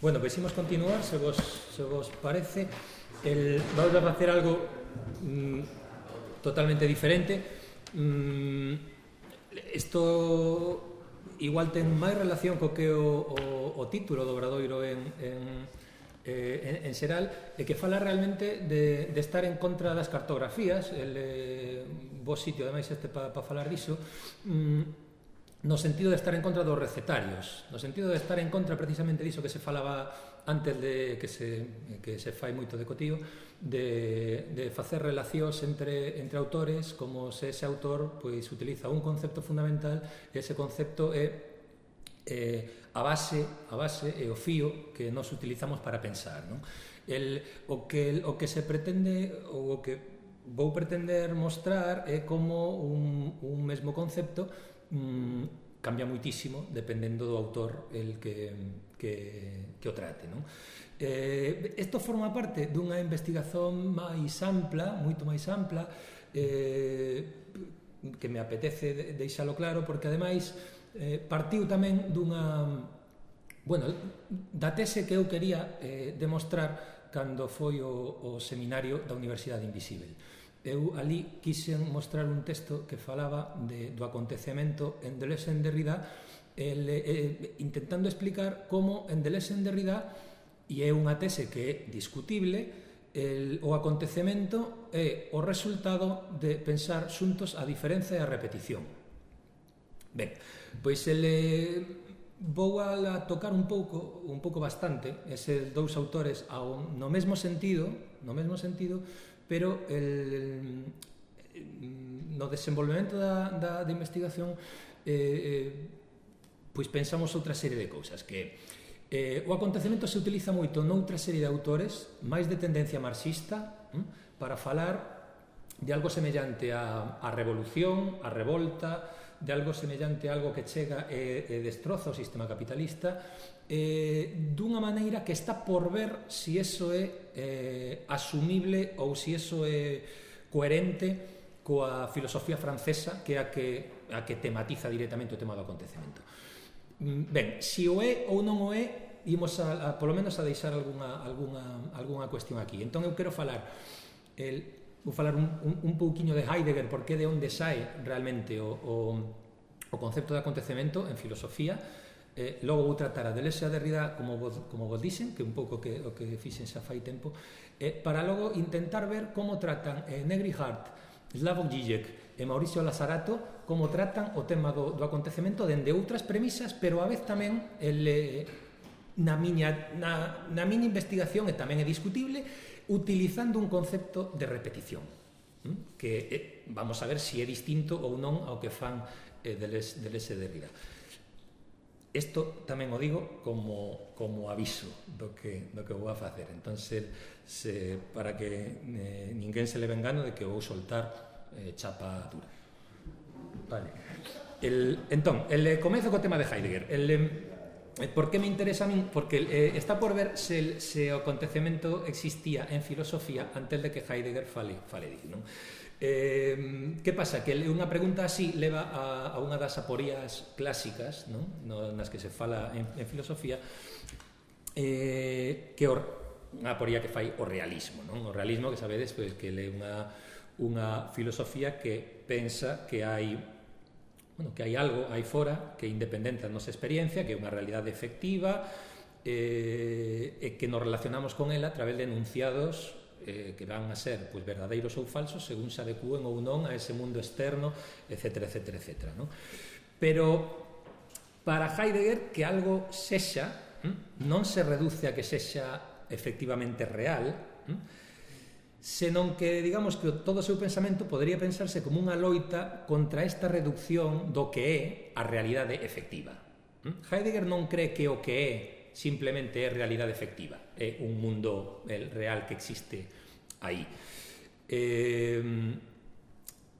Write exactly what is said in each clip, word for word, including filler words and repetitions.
Bueno, pois imos continuar, se vos, se vos parece. El, vamos a facer algo mm, totalmente diferente. Mm, isto igual ten máis relación co que o, o, o título do Obradoiro en, en, eh, en, en xeral, e que fala realmente de, de estar en contra das cartografías. El eh, vos sitio, ademais, este para pa falar diso. Mm, no sentido de estar en contra dos recetarios, no sentido de estar en contra precisamente diso que se falaba antes de que se, que se fai moito de cotío, de, de facer relacións entre, entre autores, como se ese autor pois utiliza un concepto fundamental e ese concepto é eh, a base a base e o fío que nos utilizamos para pensar, non? El, o, que, o que se pretende ou o que vou pretender mostrar é como un, un mesmo concepto mm, cambia moitísimo dependendo do autor el que, que, que o trate, non? Eh, isto forma parte dunha investigación máis ampla, moito máis ampla, eh, que me apetece deixalo claro, porque ademais eh, partiu tamén dunha, bueno, da tese que eu quería eh, demostrar cando foi o, o seminario da Universidade Invisível. Eu ali quixen mostrar un texto que falaba de, do acontecemento en Deleuze en Derrida, el, eh, intentando explicar como en Deleuze en Derrida, e é unha tese que é discutible, el, o acontecemento é o resultado de pensar xuntos a diferenza e a repetición. Ben, pois ele vou a tocar un pouco, un pouco bastante, eses dous autores ao, no mesmo sentido, no mesmo sentido, pero el, no desenvolvemento da, da, da investigación eh, eh, pois pensamos outra serie de cousas, que eh, o acontecemento se utiliza moito noutra serie de autores máis de tendencia marxista hm, para falar de algo semellante a, a revolución, a revolta, de algo semellante a algo que chega e, e destroza o sistema capitalista, eh, dunha maneira que está por ver si eso é eh, asumible ou si eso é coherente coa filosofía francesa, que é a que, a que tematiza directamente o tema do acontecemento. Ben, si o é ou non o é, imos a, a, polo menos a deixar algunha, algunha, algunha cuestión aquí. Entón eu quero falar el, vou falar un, un, un pouquiño de Heidegger, porque de onde sae realmente o, o, o concepto de acontecemento en filosofía. Eh, logo vou tratar a Deleuze e a Derrida como vos, como vos dixen, que un pouco que, o que fixen xa fai tempo, eh, para logo intentar ver como tratan eh, Negri Hart, Slavoj Žižek e Mauricio Lazarato, como tratan o tema do, do acontecemento dende outras premisas, pero a vez tamén el, eh, na, miña, na, na miña investigación, e tamén é discutible, utilizando un concepto de repetición, hm? que eh, vamos a ver se si é distinto ou non ao que fan eh, Deleuze, Deleuze e Derrida. Isto tamén o digo como, como aviso do que, do que vou a facer. Entón, se, se, para que eh, ninguén se leve engano de que vou soltar eh, chapa dura. Vale. El, entón, el comezo co tema de Heidegger. El, eh, por que me interesa a min? Porque eh, está por ver se, se o acontecemento existía en filosofía antes de que Heidegger fale, fale disso, non? Eh, que pasa? Que unha pregunta así leva a, a unha das aporías clásicas, non? No, nas que se fala en, en filosofía, eh, que or, unha aporía que fai o realismo, non? O realismo, que sabedes, pois, que é unha, unha filosofía que pensa que hai, bueno, que hai algo aí fora que é independente da nosa experiencia, que é unha realidade efectiva, eh, e que nos relacionamos con ela a través de enunciados eh, que van a ser pois, verdadeiros ou falsos según se adecúen ou non a ese mundo externo, etcétera, etcétera, etcétera, non? Pero para Heidegger que algo sexa hm, non se reduce a que sexa efectivamente real, hm, senón que, digamos, que todo o seu pensamento podría pensarse como unha loita contra esta reducción do que é a realidade efectiva. Hm? Heidegger non cree que o que é simplemente é realidade efectiva, é un mundo el, real que existe aí. Eh,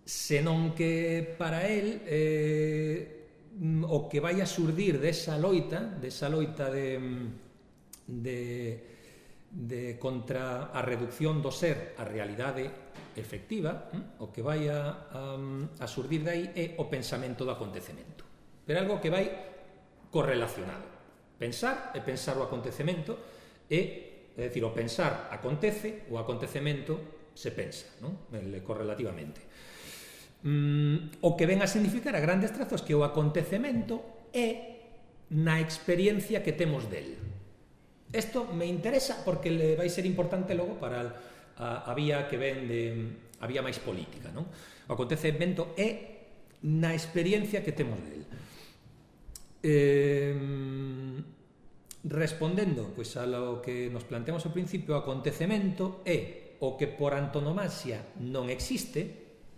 senón que para él eh, o que vai a surdir desa loita, desa loita de, de, de contra a reducción do ser a realidade efectiva, hm? o que vai a, a, a surdir de aí é o pensamento do acontecemento, pero algo que vai correlacionado. Pensar é pensar o acontecemento e, é dicir, o pensar acontece, o acontecemento se pensa, non? Correlativamente. Mm, o que ven a significar a grandes trazos que o acontecemento é na experiencia que temos del. Isto me interesa porque le vai ser importante logo para a, a vía que ven de a vía máis política, non? O acontecemento é na experiencia que temos del. Eh, respondendo pois, a lo que nos planteamos ao principio, o acontecemento é o que por antonomasia non existe,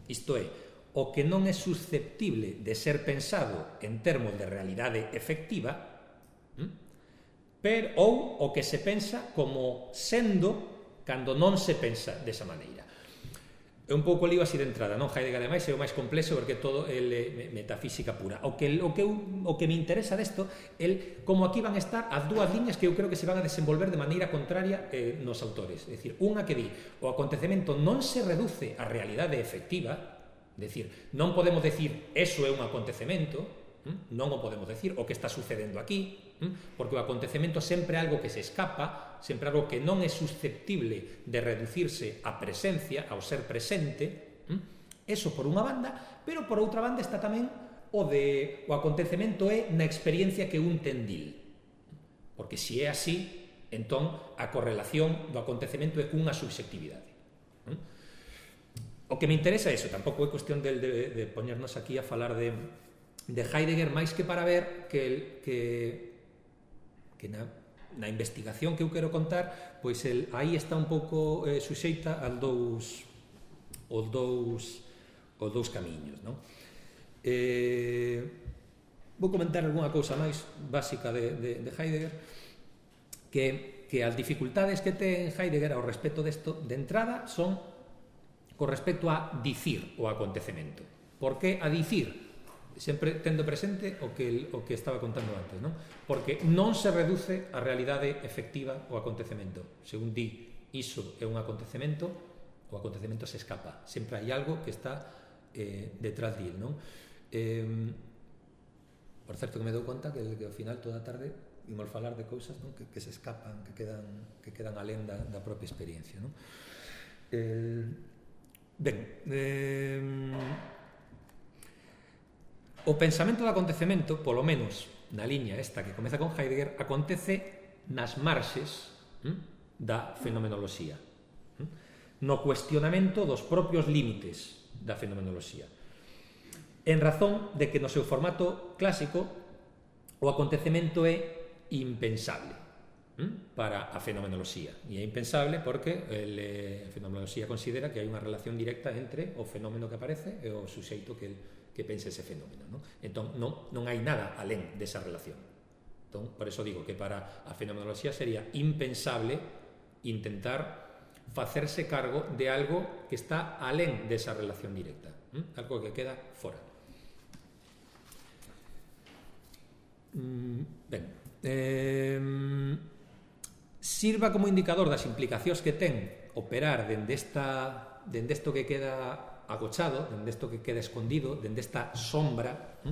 isto é, o que non é susceptible de ser pensado en termos de realidade efectiva, pero, ou o que se pensa como sendo cando non se pensa desa maneira. É un pouco lío así de entrada, non? Heidegger, ademais, é o máis complexo porque todo é metafísica pura. O que, o que, o que me interesa desto é como aquí van a estar as dúas liñas que eu creo que se van a desenvolver de maneira contraria eh, nos autores. É dicir, unha que di, o acontecemento non se reduce á realidade efectiva, é dicir, non podemos decir, eso é un acontecemento, non o podemos decir, o que está sucedendo aquí, porque o acontecemento sempre é algo que se escapa, sempre algo que non é susceptible de reducirse á presencia, ao ser presente, eso por unha banda, pero por outra banda está tamén o de o acontecemento é na experiencia que un ten dil, porque se é así, entón a correlación do acontecemento é cunha subxectividade. O que me interesa é iso, tampouco é cuestión de, de, de poñernos aquí a falar de, de Heidegger, máis que para ver que, el, que que na, na investigación que eu quero contar, pois el, aí está un pouco eh, suxeita aos dous os dous os dous camiños, non? Eh, vou comentar algunha cousa máis básica de, de, de Heidegger, que, que as dificultades que ten Heidegger ao respecto desto, de entrada, son con respecto a dicir o acontecemento. Por que a dicir? Sempre tendo presente o que, o que estaba contando antes, non? Porque non se reduce a realidade efectiva o acontecemento. Según di, iso é un acontecemento, o acontecemento se escapa. Sempre hai algo que está eh, detrás dil, non? Eh, por certo que me dou conta que, que ao final toda a tarde imos falar de cousas, non? Que, que se escapan, que quedan, que quedan alén da, da propia experiencia, non? Eh, ben, eh, o pensamento do acontecemento, polo menos na liña esta que comeza con Heidegger, acontece nas marxes hm, da fenomenoloxía, hm, no cuestionamento dos propios límites da fenomenoloxía, en razón de que no seu formato clásico o acontecemento é impensable hm, para a fenomenoloxía, e é impensable porque el, a fenomenoloxía considera que hai unha relación directa entre o fenómeno que aparece e o suxeito que el que pense ese fenómeno, non? Entón, non, non hai nada alén desa relación. Entón, por eso digo que para a fenomenoloxía sería impensable intentar facerse cargo de algo que está alén desa relación directa, ¿eh? Algo que queda fora. Mm, ben, eh, sirva como indicador das implicacións que ten operar dende esta, dende isto que queda agochado, dende isto que queda escondido, dende esta sombra,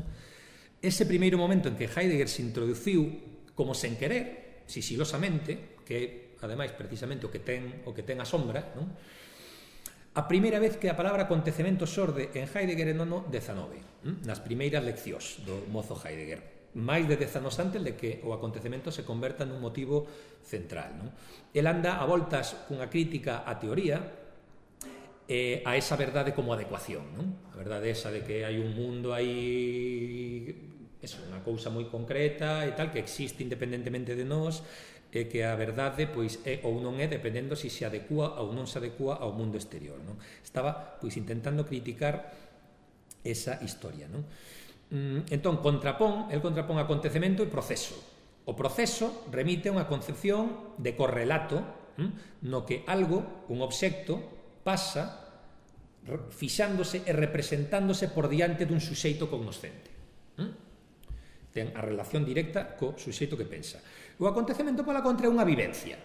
ese primeiro momento en que Heidegger se introduciu como sen querer, sisilosamente, que ademais precisamente o que ten o que ten a sombra, non? A primeira vez que a palabra acontecemento xorde en Heidegger é no ano dezanove, nas primeiras leccións do mozo Heidegger, máis de dez anos antes de que o acontecemento se converta nun motivo central, non? El anda a voltas cunha crítica á teoría, Eh, a esa verdade como adecuación, non? A verdade esa de que hai un mundo aí, eso, unha cousa moi concreta e tal, que existe independentemente de nós, e que a verdade pois é ou non é dependendo se se adecua ou non se adecua ao mundo exterior, non? Estaba pois intentando criticar esa historia, non? Entón, contrapón, el contrapón acontecemento e proceso. O proceso remite a unha concepción de correlato, no que algo, un obxecto, pasa fixándose e representándose por diante dun suxeito cognoscente. Ten a relación directa co suxeito que pensa. O acontecemento, pola contra, é unha vivencia.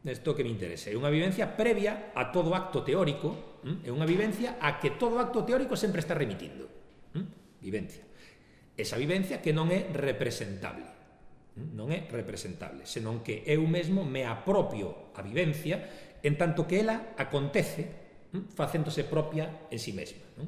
Isto que me interesa. É unha vivencia previa a todo acto teórico, é unha vivencia a que todo acto teórico sempre está remitindo. Vivencia. Esa vivencia que non é representable. non é representable, senón que eu mesmo me apropio a vivencia en tanto que ela acontece facéndose propia en si mesma, non?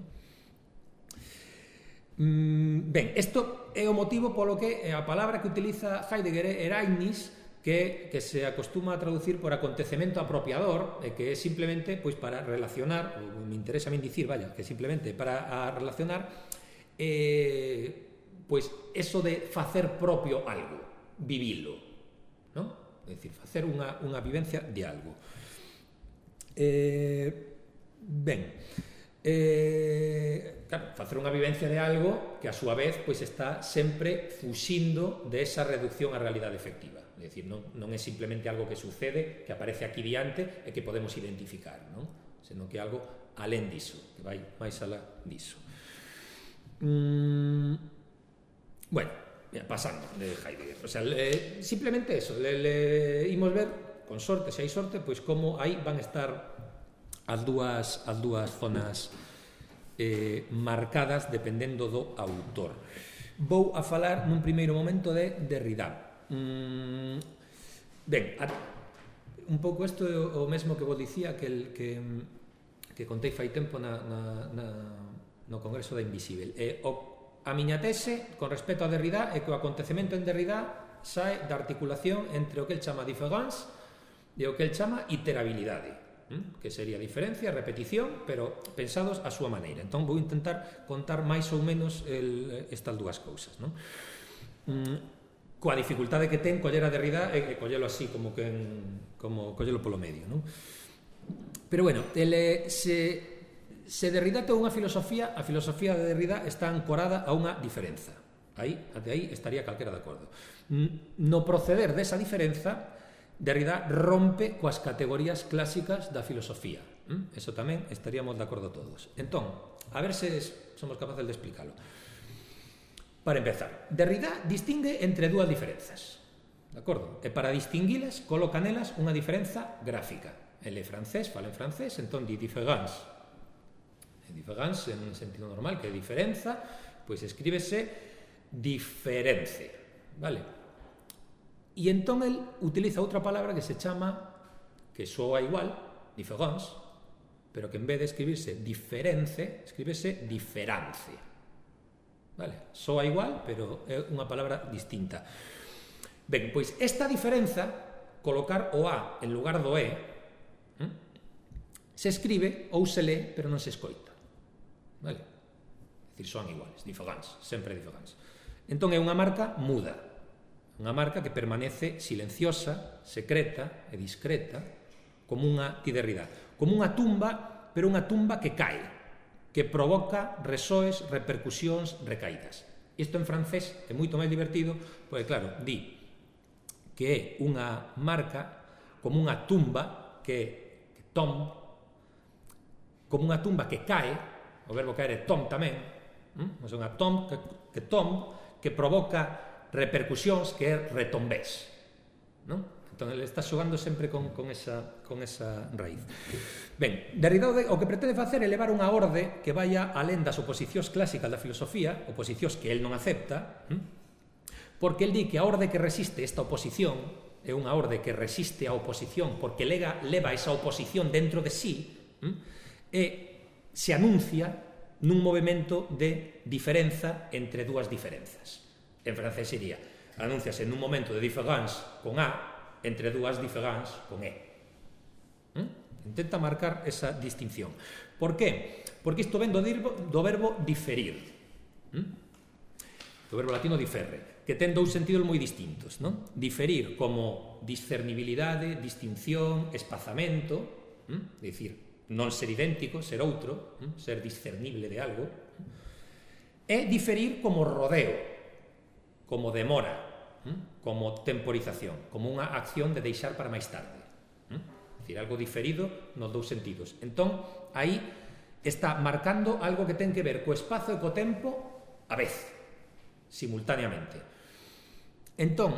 Ben, isto é o motivo polo que a palabra que utiliza Heidegger é Ereignis, que, que se acostuma a traducir por acontecemento apropiador, e que é simplemente pois, para relacionar, ou me interesa a min dicir, vaya, que simplemente para a relacionar eh, pois eso de facer propio algo, vivilo, non? É dicir, facer unha, unha vivencia de algo. Eh, ben, eh, claro, facer unha vivencia de algo que a súa vez pois, está sempre fuxindo de esa reducción á realidade efectiva. É dicir, non, non é simplemente algo que sucede, que aparece aquí diante e que podemos identificar, non? Senón que é algo alén diso, que vai máis alá diso. Mm, bueno, pasando de Heidegger, o sea, le, simplemente eso, le, le imos ver, con sorte, se hai sorte, pois como aí van a estar as dúas, as dúas zonas eh, marcadas dependendo do autor. Vou a falar nun primeiro momento de Derrida. Mm, ben, a, un pouco isto é o mesmo que vos dicía que, el, que, que contei fai tempo na, na, na, no Congreso da Invisível. E o, a miña tese con respecto a Derrida é que o acontecemento en Derrida sae da articulación entre o que el chama différence e o que el chama iterabilidade, que sería diferencia, repetición, pero pensados a súa maneira. Entón vou intentar contar máis ou menos el, estas dúas cousas, non? Mm, coa dificultade que ten coller a Derrida e, e collelo así, como que en, como collelo polo medio, non? Pero bueno, ele, se, se Derrida ten unha filosofía, a filosofía de Derrida está ancorada a unha diferenza. Aí, até aí estaría calquera de acordo. No proceder desa diferenza, Derrida rompe coas categorías clásicas da filosofía. Eso tamén estaríamos de acordo todos. Entón, a ver se somos capaces de explicarlo. Para empezar, Derrida distingue entre dúas diferenzas, de acordo? E para distinguilas, coloca nelas unha diferenza gráfica. Ele é francés, fala en francés, entón di différence. Différence, en sentido normal, que é diferenza, pois escríbese diference, vale? E entón el utiliza outra palabra que se chama, que soa igual, différence, pero que en vez de escribirse diference, escríbese diferance. Vale, soa igual, pero é unha palabra distinta. Ben, pois esta diferenza, colocar o A en lugar do E, ¿eh? se escribe ou se lee, pero non se escoita. Vale? É dicir, son iguales, différence, sempre différence. Entón é unha marca muda, unha marca que permanece silenciosa, secreta e discreta, como unha Derrida, como unha tumba, pero unha tumba que cae, que provoca resoes, repercusións, recaídas. Isto en francés é moito máis divertido, porque claro, di que é unha marca como unha tumba que, que tombe, como unha tumba que cae, o verbo caer é tom tamén, hm? é unha tom que, que tom, que provoca repercusións que é retombés, non? Entón, ele está xogando sempre con, con, esa, con esa raíz. Ben, Derrida o que pretende facer é levar unha orde que vaya alén das oposicións clásicas da filosofía, oposicións que el non acepta, porque el di que a orde que resiste esta oposición é unha orde que resiste a oposición porque lega, leva esa oposición dentro de sí e se anuncia nun movimento de diferenza entre dúas diferenzas. En francés sería, anúnciase nun momento de différence con A entre dúas différence con E. ¿Mm? Intenta marcar esa distinción. Por qué? Porque isto ven do, do verbo diferir. ¿Mm? Do verbo latino diferre, que ten dous sentidos moi distintos, non? Diferir como discernibilidade, distinción, espazamento, ¿Mm? É dicir, non ser idéntico, ser outro, ¿Mm? Ser discernible de algo. E diferir como rodeo, como demora, como temporización, como unha acción de deixar para máis tarde. É dicir, algo diferido nos dous sentidos. Entón, aí está marcando algo que ten que ver co espazo e co tempo a vez, simultaneamente. Entón,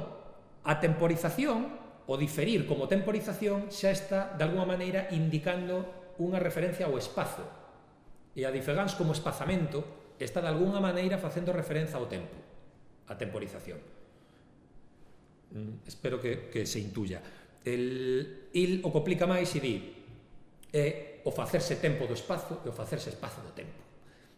a temporización, o diferir como temporización, xa está, de alguma maneira, indicando unha referencia ao espazo. E a diference como espazamento está, de alguna maneira, facendo referencia ao tempo, a temporización. mm, espero que, que se intuya. El, il o complica máis e di é o facerse tempo do espazo e o facerse espazo do tempo.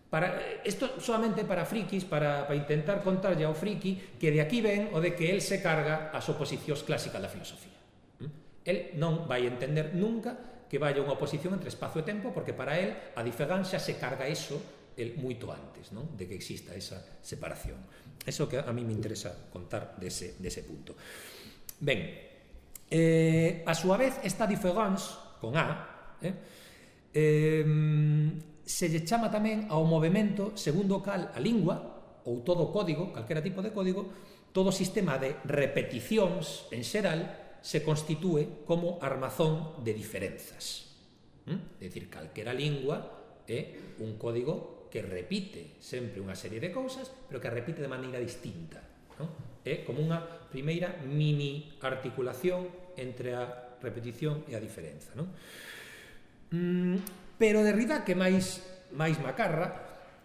Para, isto solamente para frikis, para, para intentar contarlle ao friki que de aquí ven o de que el se carga as oposicións clásicas da filosofía. El non vai entender nunca que vaya unha oposición entre espazo e tempo, porque para el a Diferán xa se carga eso el moito antes, non? De que exista esa separación. Eso que a mí me interesa contar dese, dese punto. Ben, eh, a súa vez esta diference con A eh, eh, se lle chama tamén ao movimento segundo o cal a lingua ou todo código, calquera tipo de código, todo sistema de repeticións en xeral se constitúe como armazón de diferenzas. ¿Mm? É dicir, calquera lingua é un código que repite sempre unha serie de cousas, pero que repite de maneira distinta. ¿No? É como unha primeira mini articulación entre a repetición e a diferenza. ¿No? Mm, pero Derrida, que máis, máis macarra,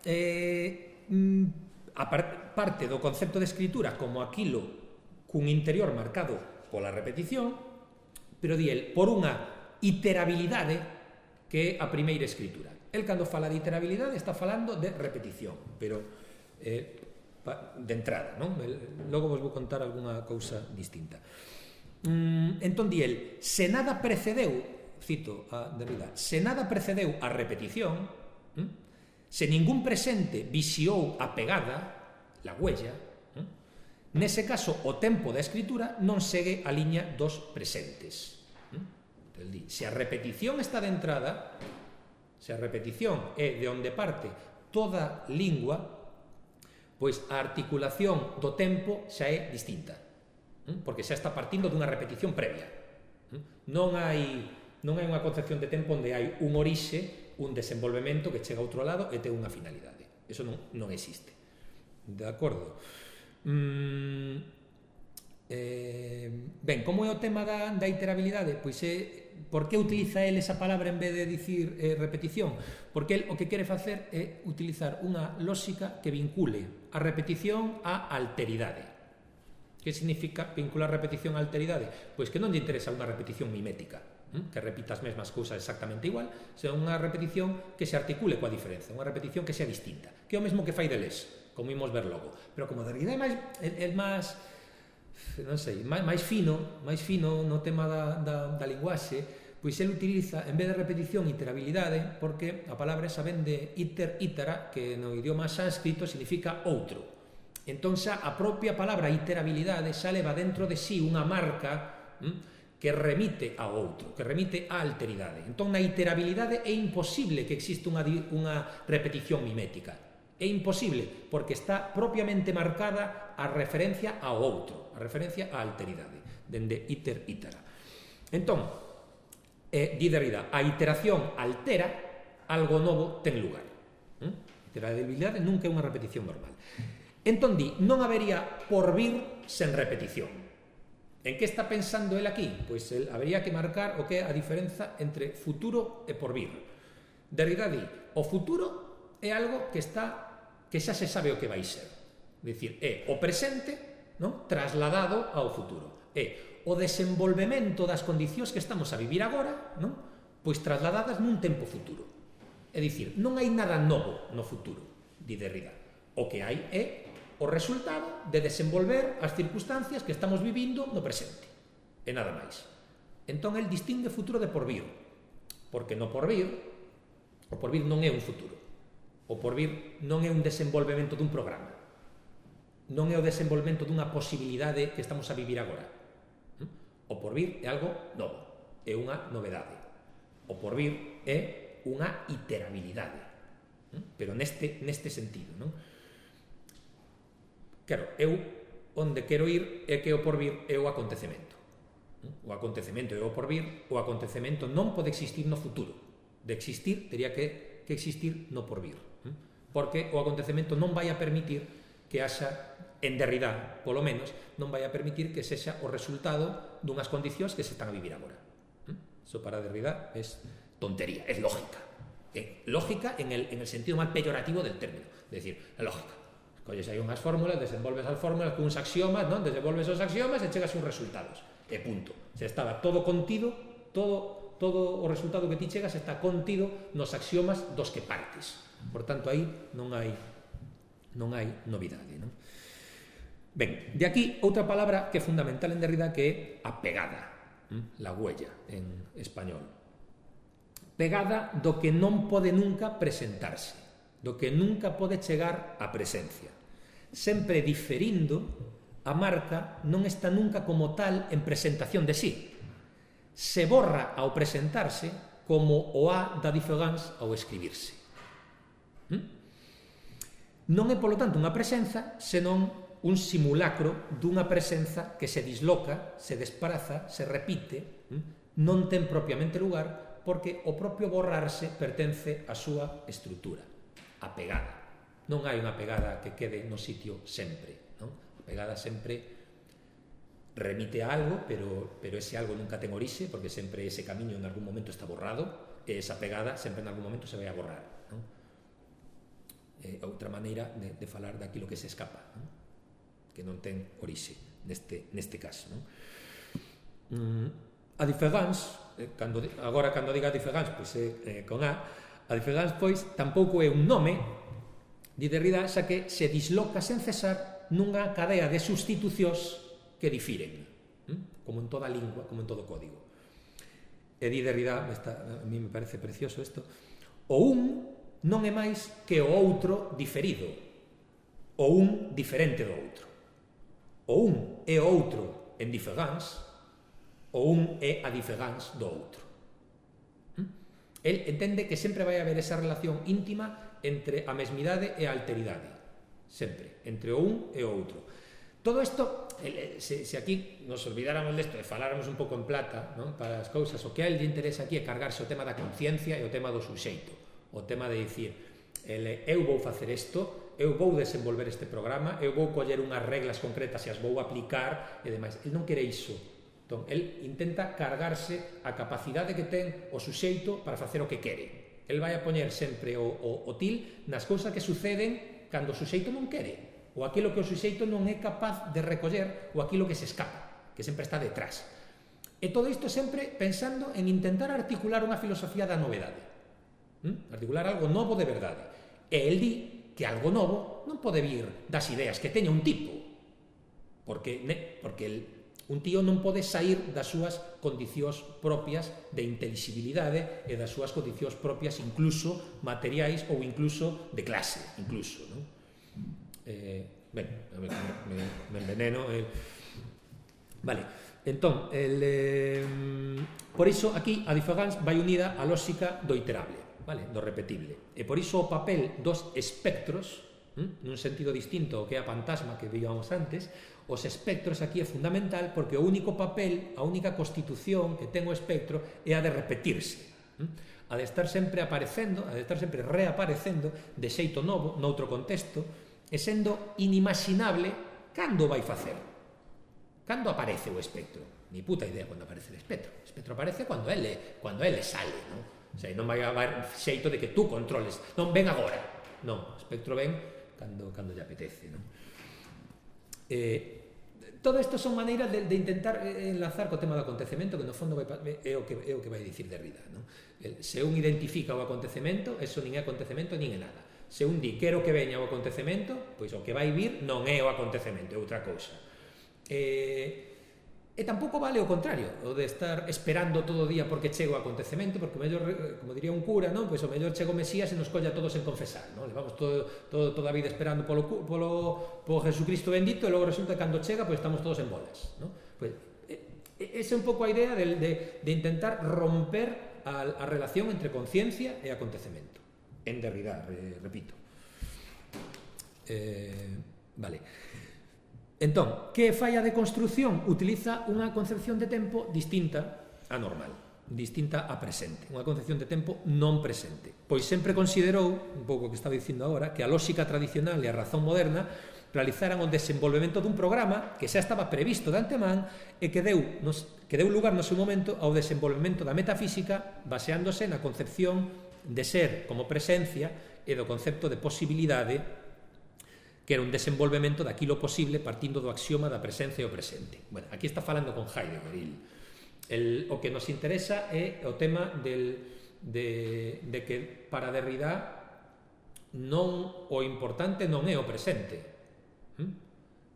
eh, a par, parte do concepto de escritura como aquilo cun interior marcado pola repetición, pero di el, por unha iterabilidade que é a primeira escritura. El, cando fala de iterabilidade, está falando de repetición, pero eh, de entrada, non? El, logo vos vou contar algunha cousa distinta. Mm, entón, di el, se nada precedeu, cito a Derrida, se nada precedeu a repetición, mm, se ningún presente vixiou a pegada, la huella, nese caso, o tempo da escritura non segue a liña dos presentes. Se a repetición está de entrada, se a repetición é de onde parte toda lingua, pois a articulación do tempo xa é distinta, porque xa está partindo dunha repetición previa. Non hai, non hai unha concepción de tempo onde hai un orixe, un desenvolvemento que chega a outro lado e ten unha finalidade. Eso non, non existe. De acordo? Mm, eh, ben, como é o tema da, da iterabilidade? Pois é, por que utiliza el esa palabra en vez de dicir eh, repetición? Porque el o que quere facer é utilizar unha lógica que vincule a repetición á alteridade. Que significa vincular repetición á alteridade? Pois que non lle interesa unha repetición mimética, hm? que repita as mesmas cousas exactamente igual, senón unha repetición que se articule coa diferenza, unha repetición que sea distinta, que é o mesmo que fai Deleuze, como imos ver logo. Pero como Derrida é máis, é, é máis, non sei, máis, máis fino, máis fino no tema da, da, da linguaxe, pois ele utiliza, en vez de repetición, iterabilidade, porque a palabra esa ven de iter, itera, que no idioma sánscrito significa outro. Entón xa a propia palabra iterabilidade xa leva dentro de sí unha marca hm, que remite ao outro, que remite á alteridade. Entón na iterabilidade é imposible que exista unha, unha repetición mimética. É imposible, porque está propiamente marcada a referencia ao outro, a referencia á alteridade, dende iter, itera. Entón, eh, di Derrida, a iteración altera, algo novo ten lugar. ¿Mm? Iterabilidade nunca é unha repetición normal. Entón, di, non habería porvir sen repetición. En que está pensando el aquí? Pois el habería que marcar o que é a diferenza entre futuro e porvir. Derrida di, o futuro é algo que está que xa se sabe o que vai ser. É dicir, é o presente, non? Trasladado ao futuro. É o desenvolvemento das condicións que estamos a vivir agora, non? Pois trasladadas nun tempo futuro. É dicir, non hai nada novo no futuro, di Derrida. O que hai é o resultado de desenvolver as circunstancias que estamos vivindo no presente. E nada máis. Entón, el distingue futuro de porvir. Porque no porvir, o porvir non é un futuro. O porvir non é un desenvolvemento dun programa. Non é o desenvolvemento dunha posibilidade que estamos a vivir agora. O porvir é algo novo, é unha novedade. O porvir é unha iterabilidade. Pero neste, neste sentido, non? Claro, eu onde quero ir é que o porvir é o acontecemento. O acontecemento é o porvir, o acontecemento non pode existir no futuro. De existir, teria que, que existir no porvir. Porque o acontecemento non vai a permitir que haxa, en Derrida, polo menos, non vai a permitir que sexa o resultado dunhas condicións que se están a vivir agora. Iso para Derrida é tontería, é lógica. É lógica en el, en el sentido máis peyorativo del término. É dicir, é lógica. Colles aí unhas fórmulas, desenvolves as fórmulas con uns axiomas, non? Desenvolves os axiomas e chegas a uns resultados. E punto. Se estaba todo contido, todo, todo o resultado que ti chegas está contido nos axiomas dos que partes. Por tanto, aí non hai non hai novidade, non? Ben, de aquí outra palabra que é fundamental en Derrida, que é a pegada, la huella en español. Pegada do que non pode nunca presentarse, do que nunca pode chegar á presencia. Sempre diferindo, a marca non está nunca como tal en presentación de sí. Se borra ao presentarse como o A da diferenza ao escribirse. Non é, polo tanto, unha presenza, senón un simulacro dunha presenza que se disloca, se despraza, se repite, non ten propiamente lugar, porque o propio borrarse pertence á súa estrutura, a pegada. Non hai unha pegada que quede no sitio sempre, non? A pegada sempre remite a algo, pero, pero ese algo nunca ten orixe, porque sempre ese camiño en algún momento está borrado, e esa pegada sempre en algún momento se vai a borrar, non? É outra maneira de, de falar daquilo que se escapa, non? Que non ten orixe neste, neste caso, non? Mm, a diferenza, eh, cando, agora cando diga a diferenza, pois é eh, con A, a diferenza, pois, tampouco é un nome, di Derrida, xa que se disloca sen cesar nunha cadea de sustitucións que difiren, hm? Como en toda lingua, como en todo código. E di Derrida, esta, a mí me parece precioso isto, o un non é máis que o outro diferido, o un diferente do outro. O un é o outro en diferenza, o un é a diferenza do outro. El entende que sempre vai haber esa relación íntima entre a mesmidade e a alteridade. Sempre, entre o un e o outro. Todo isto, se, se aquí nos olvidáramos desto e faláramos un pouco en plata, non? Para as cousas, o que a él lle interesa aquí é cargarse o tema da conciencia e o tema do suxeito. O tema de dicir, ele, eu vou facer isto, eu vou desenvolver este programa, eu vou coller unhas reglas concretas e as vou aplicar e demais. El non quere iso. Entón, el intenta cargarse a capacidade que ten o suxeito para facer o que quere. El vai a poñer sempre o, o, o til nas cousas que suceden cando o suxeito non quere, ou aquilo que o suxeito non é capaz de recoller, ou aquilo que se escapa, que sempre está detrás. E todo isto sempre pensando en intentar articular unha filosofía da novedade. ¿Mm? Articular algo novo de verdade. E el di que algo novo non pode vir das ideas que teña un tipo, porque, ne, porque el, un tío non pode sair das súas condicións propias de intelixibilidade e das súas condicións propias incluso materiais ou incluso de clase, incluso, non? Eh, ben, me, me, me enveneno. Eh. Vale, entón, el, eh, por iso aquí a diferenza vai unida á lógica do iterable, vale, do repetible. E por iso o papel dos espectros, hm, nun sentido distinto ao que é a fantasma que víamos antes, os espectros aquí é fundamental porque o único papel, a única constitución que ten o espectro é a de repetirse, hm, a de estar sempre aparecendo, a de estar sempre reaparecendo de xeito novo, noutro contexto, e sendo inimaginable cando vai facer. Cando aparece o espectro? Ni puta idea cando aparece o espectro. O espectro aparece cando ele, cando ele sale, non? O sea, non vai haber xeito de que tú controles. Non, ven agora. Non, o espectro ven cando, cando lle apetece, non? Eh, todo isto son maneiras de, de intentar enlazar co tema do acontecemento, que no fondo vai, é, o que, é o que vai dicir Derrida, non? El, se un identifica o acontecemento, eso nin é acontecemento nin é nada. Se un di quero que veña o acontecemento, pois o que vai vir non é o acontecemento, é outra cousa. E, e tampouco vale o contrario, o de estar esperando todo o día porque chego o acontecemento, porque o mellor, como diría un cura, non? Pois o mellor chego o Mesías e nos colla todos en confesar, non? Levamos todo, todo, toda a vida esperando polo, polo, polo Jesucristo bendito e logo resulta que cando chega pois estamos todos en bolas, non? Pois, esa é un pouco a idea de, de, de intentar romper a, a relación entre conciencia e acontecemento. En Derrida, re, repito. Eh, vale. Entón, que falla de construción? Utiliza unha concepción de tempo distinta a normal, distinta a presente, unha concepción de tempo non presente. Pois sempre considerou, un pouco o que estaba dicindo agora, que a lógica tradicional e a razón moderna realizaran o desenvolvemento dun programa que xa estaba previsto de antemán e que deu, nos, que deu lugar no seu momento ao desenvolvemento da metafísica baseándose na concepción de ser como presencia e do concepto de posibilidade que era un desenvolvemento daquilo posible partindo do axioma da presencia e o presente. Bueno, aquí está falando con Heidegger. El, el, o que nos interesa é o tema del, de, de que para Derrida non o importante non é o presente. ¿Mm?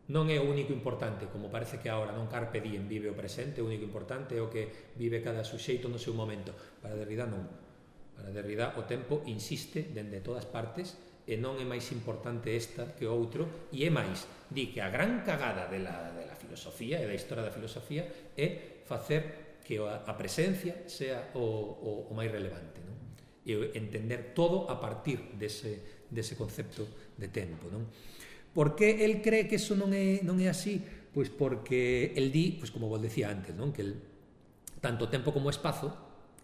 Non é o único importante, como parece que agora non carpe diem vive o presente, o único importante é o que vive cada suxeito no seu momento. Para Derrida non. Para Derrida o tempo insiste dende todas partes e non é máis importante esta que o outro, e é máis, di que a gran cagada de la, de la filosofía e da historia da filosofía é facer que a, a presencia sea o, o, o máis relevante, non? E entender todo a partir dese, dese concepto de tempo, non? Por que el cree que eso non é, non é así? Pois porque el di, pois como vos decía antes, non? Que el, tanto tempo como espazo,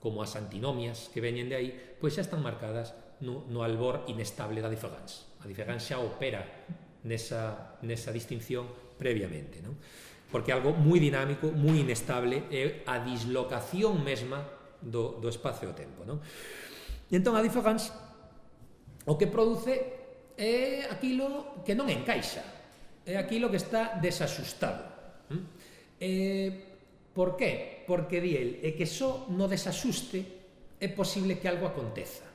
como as antinomias que veñen de aí, pois xa están marcadas no, no albor inestable da diferenza. A diferenza xa opera nesa, nesa distinción previamente, non? Porque é algo moi dinámico, moi inestable, é a dislocación mesma do, do espacio e o tempo, non? E entón a diferenza o que produce é aquilo que non encaixa, é aquilo que está desaxustado. E por qué? Porque di el, é que só no desaxuste é posible que algo aconteza.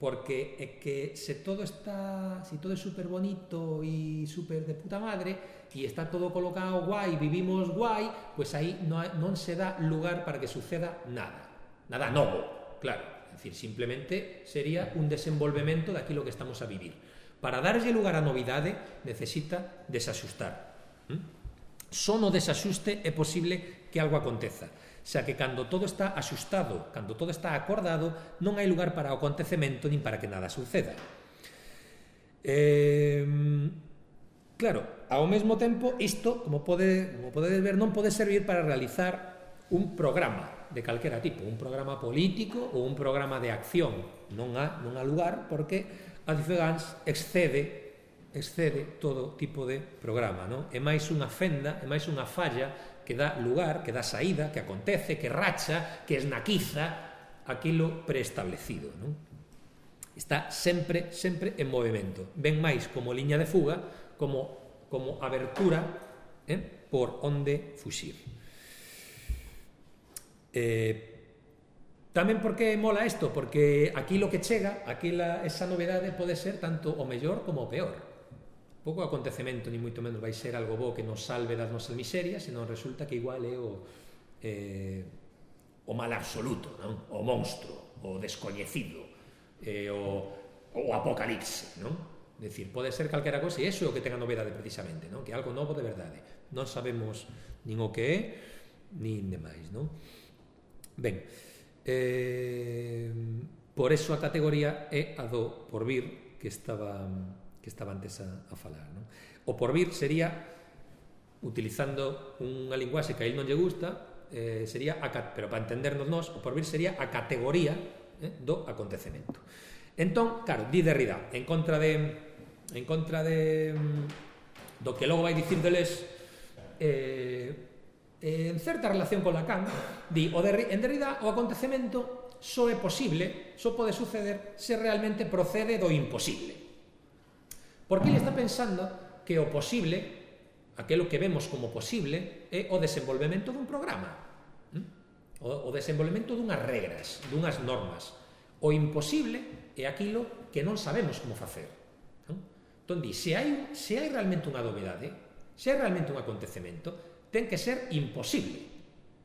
Porque é que se todo está, se todo é super bonito e super de puta madre e está todo colocado guai, vivimos guai, pois aí non, non se dá lugar para que suceda nada, nada novo, claro, é dicir, simplemente sería un desenvolvemento daquilo que estamos a vivir. Para darlle lugar á novidade necesita desaxustar. ¿Mm? Só no desaxuste é posible que algo aconteza. Xa que cando todo está axustado, cando todo está acordado, non hai lugar para o acontecemento nin para que nada suceda. Eh, claro, ao mesmo tempo, isto, como, pode, como podedes ver, non pode servir para realizar un programa de calquera tipo, un programa político ou un programa de acción. Non há, non há lugar porque a diferenza excede excede todo tipo de programa, non? É máis unha fenda, é máis unha falla que dá lugar, que dá saída, que acontece, que racha, que esnaquiza aquilo preestablecido, non? Está sempre, sempre en movimento. Ven máis como liña de fuga, como, como abertura, eh, por onde fuxir. Eh, tamén por que mola isto? Porque aquilo que chega, aquila, esa novedade pode ser tanto o mellor como o peor. Pouco acontecemento, ni moito menos vai ser algo bo que nos salve das nosas miserias, senón resulta que igual é o, eh, o mal absoluto, non? O monstro, o descoñecido, eh, o, o apocalipse, non? É dicir, pode ser calquera cosa, e iso é o que ten a novedade precisamente, non? Que é algo novo de verdade. Non sabemos nin o que é, nin demais, non? Ben, eh, por eso a categoría é a do porvir que estaba... que estaba antes a, a falar, non? O porvir sería, utilizando unha linguaxe que a él non lle gusta, eh, sería, a, pero para entendernos nós, o porvir sería a categoría eh, do acontecemento. Entón, claro, di Derrida, en contra de en contra de do que logo vai dicir Deleuze, eh, en certa relación con Lacan, di, o Derri, en Derrida o acontecemento só é posible, só pode suceder se realmente procede do imposible. Porque ele está pensando que o posible, aquilo que vemos como posible, é o desenvolvemento dun programa, o, o desenvolvemento dunhas regras, dunhas normas. O imposible é aquilo que non sabemos como facer. Entón, di, se hai, se hai realmente unha novedade, se hai realmente un acontecemento, ten que ser imposible.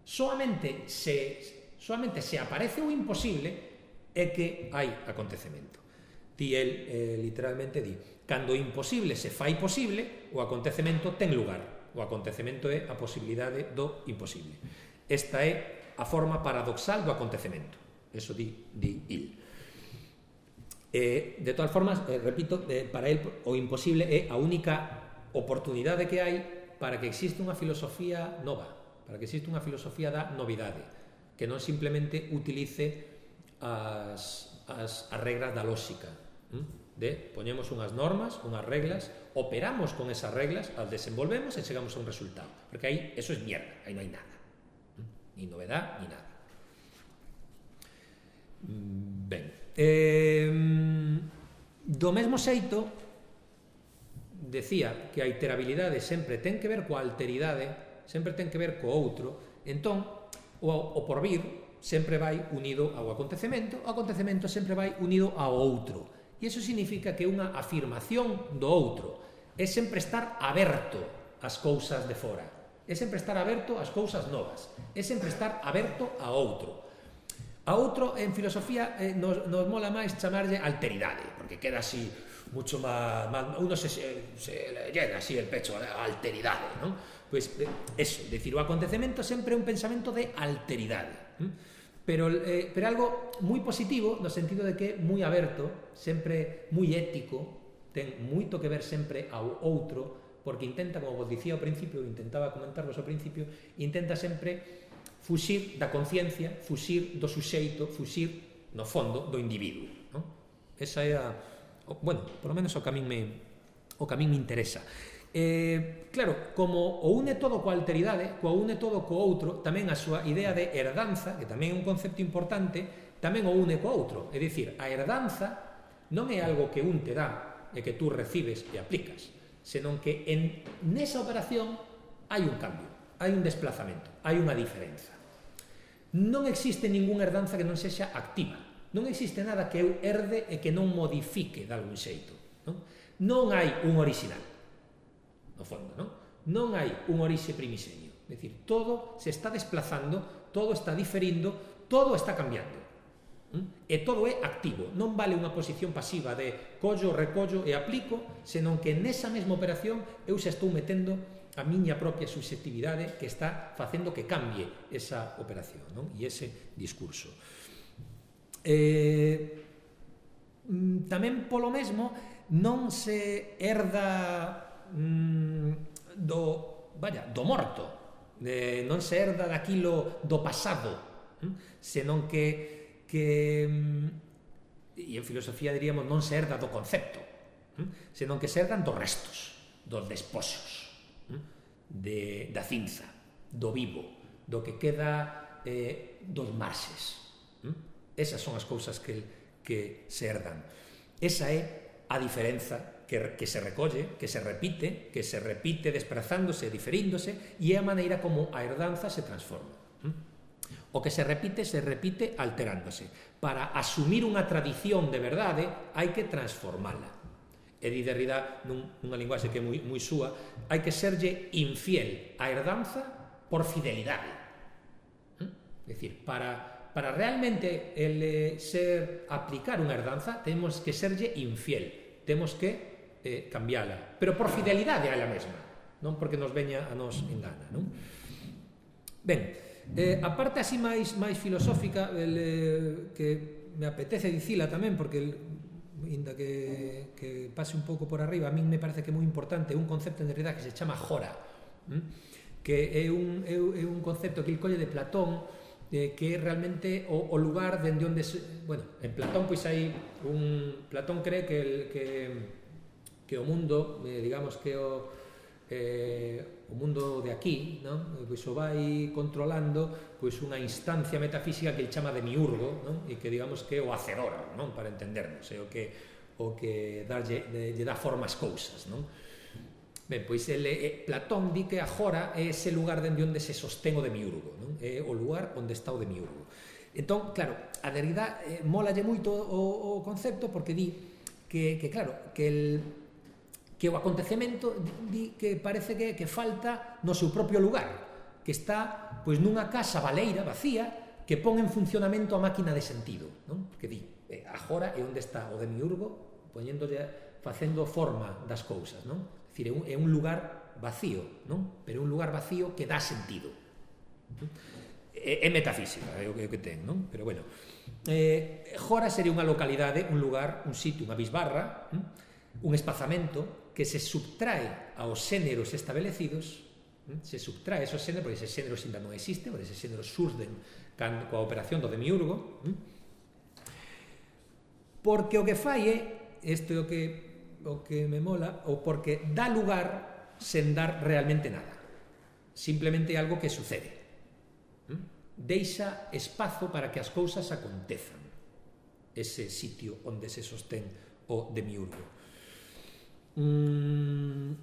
Solamente se, solamente se aparece o imposible é que hai acontecemento. Di el, eh, literalmente di, cando o imposible se fai posible, o acontecemento ten lugar. O acontecemento é a posibilidade do imposible. Esta é a forma paradoxal do acontecemento. Eso di, di il. Eh, de todas formas, eh, repito, eh, para el o imposible é a única oportunidade que hai para que exista unha filosofía nova, para que exista unha filosofía da novidade, que non simplemente utilice as, as, as regras da lóxica, de poñemos unhas normas, unhas reglas, operamos con esas reglas, as desenvolvemos e chegamos a un resultado, porque aí eso es mierda, aí non hai nada, ni novedad, ni nada. Ben, eh, Do mesmo xeito, decía que a iterabilidade sempre ten que ver coa alteridade, sempre ten que ver co outro, entón o, o porvir sempre vai unido ao acontecemento, o acontecemento sempre vai unido ao outro. E iso significa que unha afirmación do outro é sempre estar aberto ás cousas de fora, é sempre estar aberto ás cousas novas, é sempre estar aberto a outro. A outro, en filosofía, eh, nos, nos mola máis chamarlle alteridade, porque queda así mucho máis, más uno se, se le llena así el pecho, a alteridade, non? Pois, eh, eso, decir, o acontecemento sempre é un pensamento de alteridade, ¿eh? pero, eh, pero algo moi positivo, no sentido de que é moi aberto, sempre moi ético, ten moito que ver sempre ao outro, porque intenta, como vos dicía ao principio, intentaba comentarvos ao principio, intenta sempre fuxir da conciencia, fuxir do suxeito, fuxir, no fondo, do individuo, non? Esa é a... bueno, por lo menos o que a min me, o que a min me interesa. Eh, claro, como o une todo coa alteridade, coa une todo co outro, tamén a súa idea de herdanza, que tamén é un concepto importante, tamén o une co outro. É dicir, a herdanza non é algo que un te dá e que tú recibes e aplicas, senón que en nesa operación hai un cambio, hai un desplazamento, hai unha diferenza. Non existe ningunha herdanza que non sexa activa. Non existe nada que eu herde e que non modifique de algún xeito. Non, non hai un original, no fondo, non? Non hai un orixe primixeño. É dicir, todo se está desplazando, todo está diferindo, todo está cambiando. E todo é activo. Non vale unha posición pasiva de collo, recollo e aplico, senón que nesa mesma operación eu xa estou metendo a miña propia subxectividade que está facendo que cambie esa operación, non? E ese discurso. Eh, tamén polo mesmo non se herda mm, do, vaya, do morto, eh, non se herda daquilo do pasado, hm? senón que, que e en filosofía diríamos non se herda do concepto, hm? senón que se herdan dos restos, dos despoxos, De, da cinza, do vivo, do que queda eh, dos marxes. ¿Mm? Esas son as cousas que, que se herdan. Esa é a diferenza que, que se recolle, que se repite, que se repite desprazándose, diferíndose, e é a maneira como a herdanza se transforma. ¿Mm? O que se repite, se repite alterándose. Para asumir unha tradición de verdade, hai que transformala. E di Derrida, nun, nunha linguaxe que é moi, moi súa, hai que serlle infiel a herdanza por fidelidade. ¿Mm? É dicir, para, para realmente el, ser, aplicar unha herdanza, temos que serlle infiel, temos que eh, cambiala, pero por fidelidade a ela mesma, non porque nos veña a nos engana, non? Ben, eh, a parte así máis, máis filosófica, el, eh, que me apetece dicila tamén, porque el, inda que, que pase un pouco por arriba, a min me parece que é moi importante un concepto en realidad que se chama jora, ¿m? que é un, é, é un concepto que el colle de Platón, eh, que é realmente o, o lugar dende onde se, bueno, en Platón pois hai un, Platón cree que el, que, que o mundo, eh, digamos que o eh, o mundo de aquí, non? Pois o vai controlando pois unha instancia metafísica que el chama demiurgo, non? E que digamos que é o hacedor, non? Para entendernos, é o que o que darlle, lle dá forma ás cousas, non? Ben, pois el, eh, Platón di que agora é ese lugar dende onde se sostén o demiurgo, non? É o lugar onde está o demiurgo. Entón, claro, a Derrida eh, molalle moito o, o concepto porque di que, que claro, que el que o acontecemento di que parece que, que falta no seu propio lugar, que está pois nunha casa baleira, vacía, que pon en funcionamento a máquina de sentido, non? Porque di, eh, agora é onde está o demiurgo poñéndolle, facendo forma das cousas, non? É dicir, é un, é un lugar vacío, non? Pero é un lugar vacío que dá sentido, non? É, é metafísica, é o que, é o que ten, non? Pero bueno, eh, Jora sería unha localidade, un lugar, un sitio, unha bisbarra, non? Un espazamento que se subtrae aos xéneros establecidos, se subtrae esos xéneros, porque eses xéneros ainda non existen, porque eses xéneros surden coa operación do demiurgo, porque o que fai é, isto é o que, o que me mola, ou porque dá lugar sen dar realmente nada, simplemente algo que sucede, deixa espazo para que as cousas acontezan, ese sitio onde se sostén o demiurgo. Mm,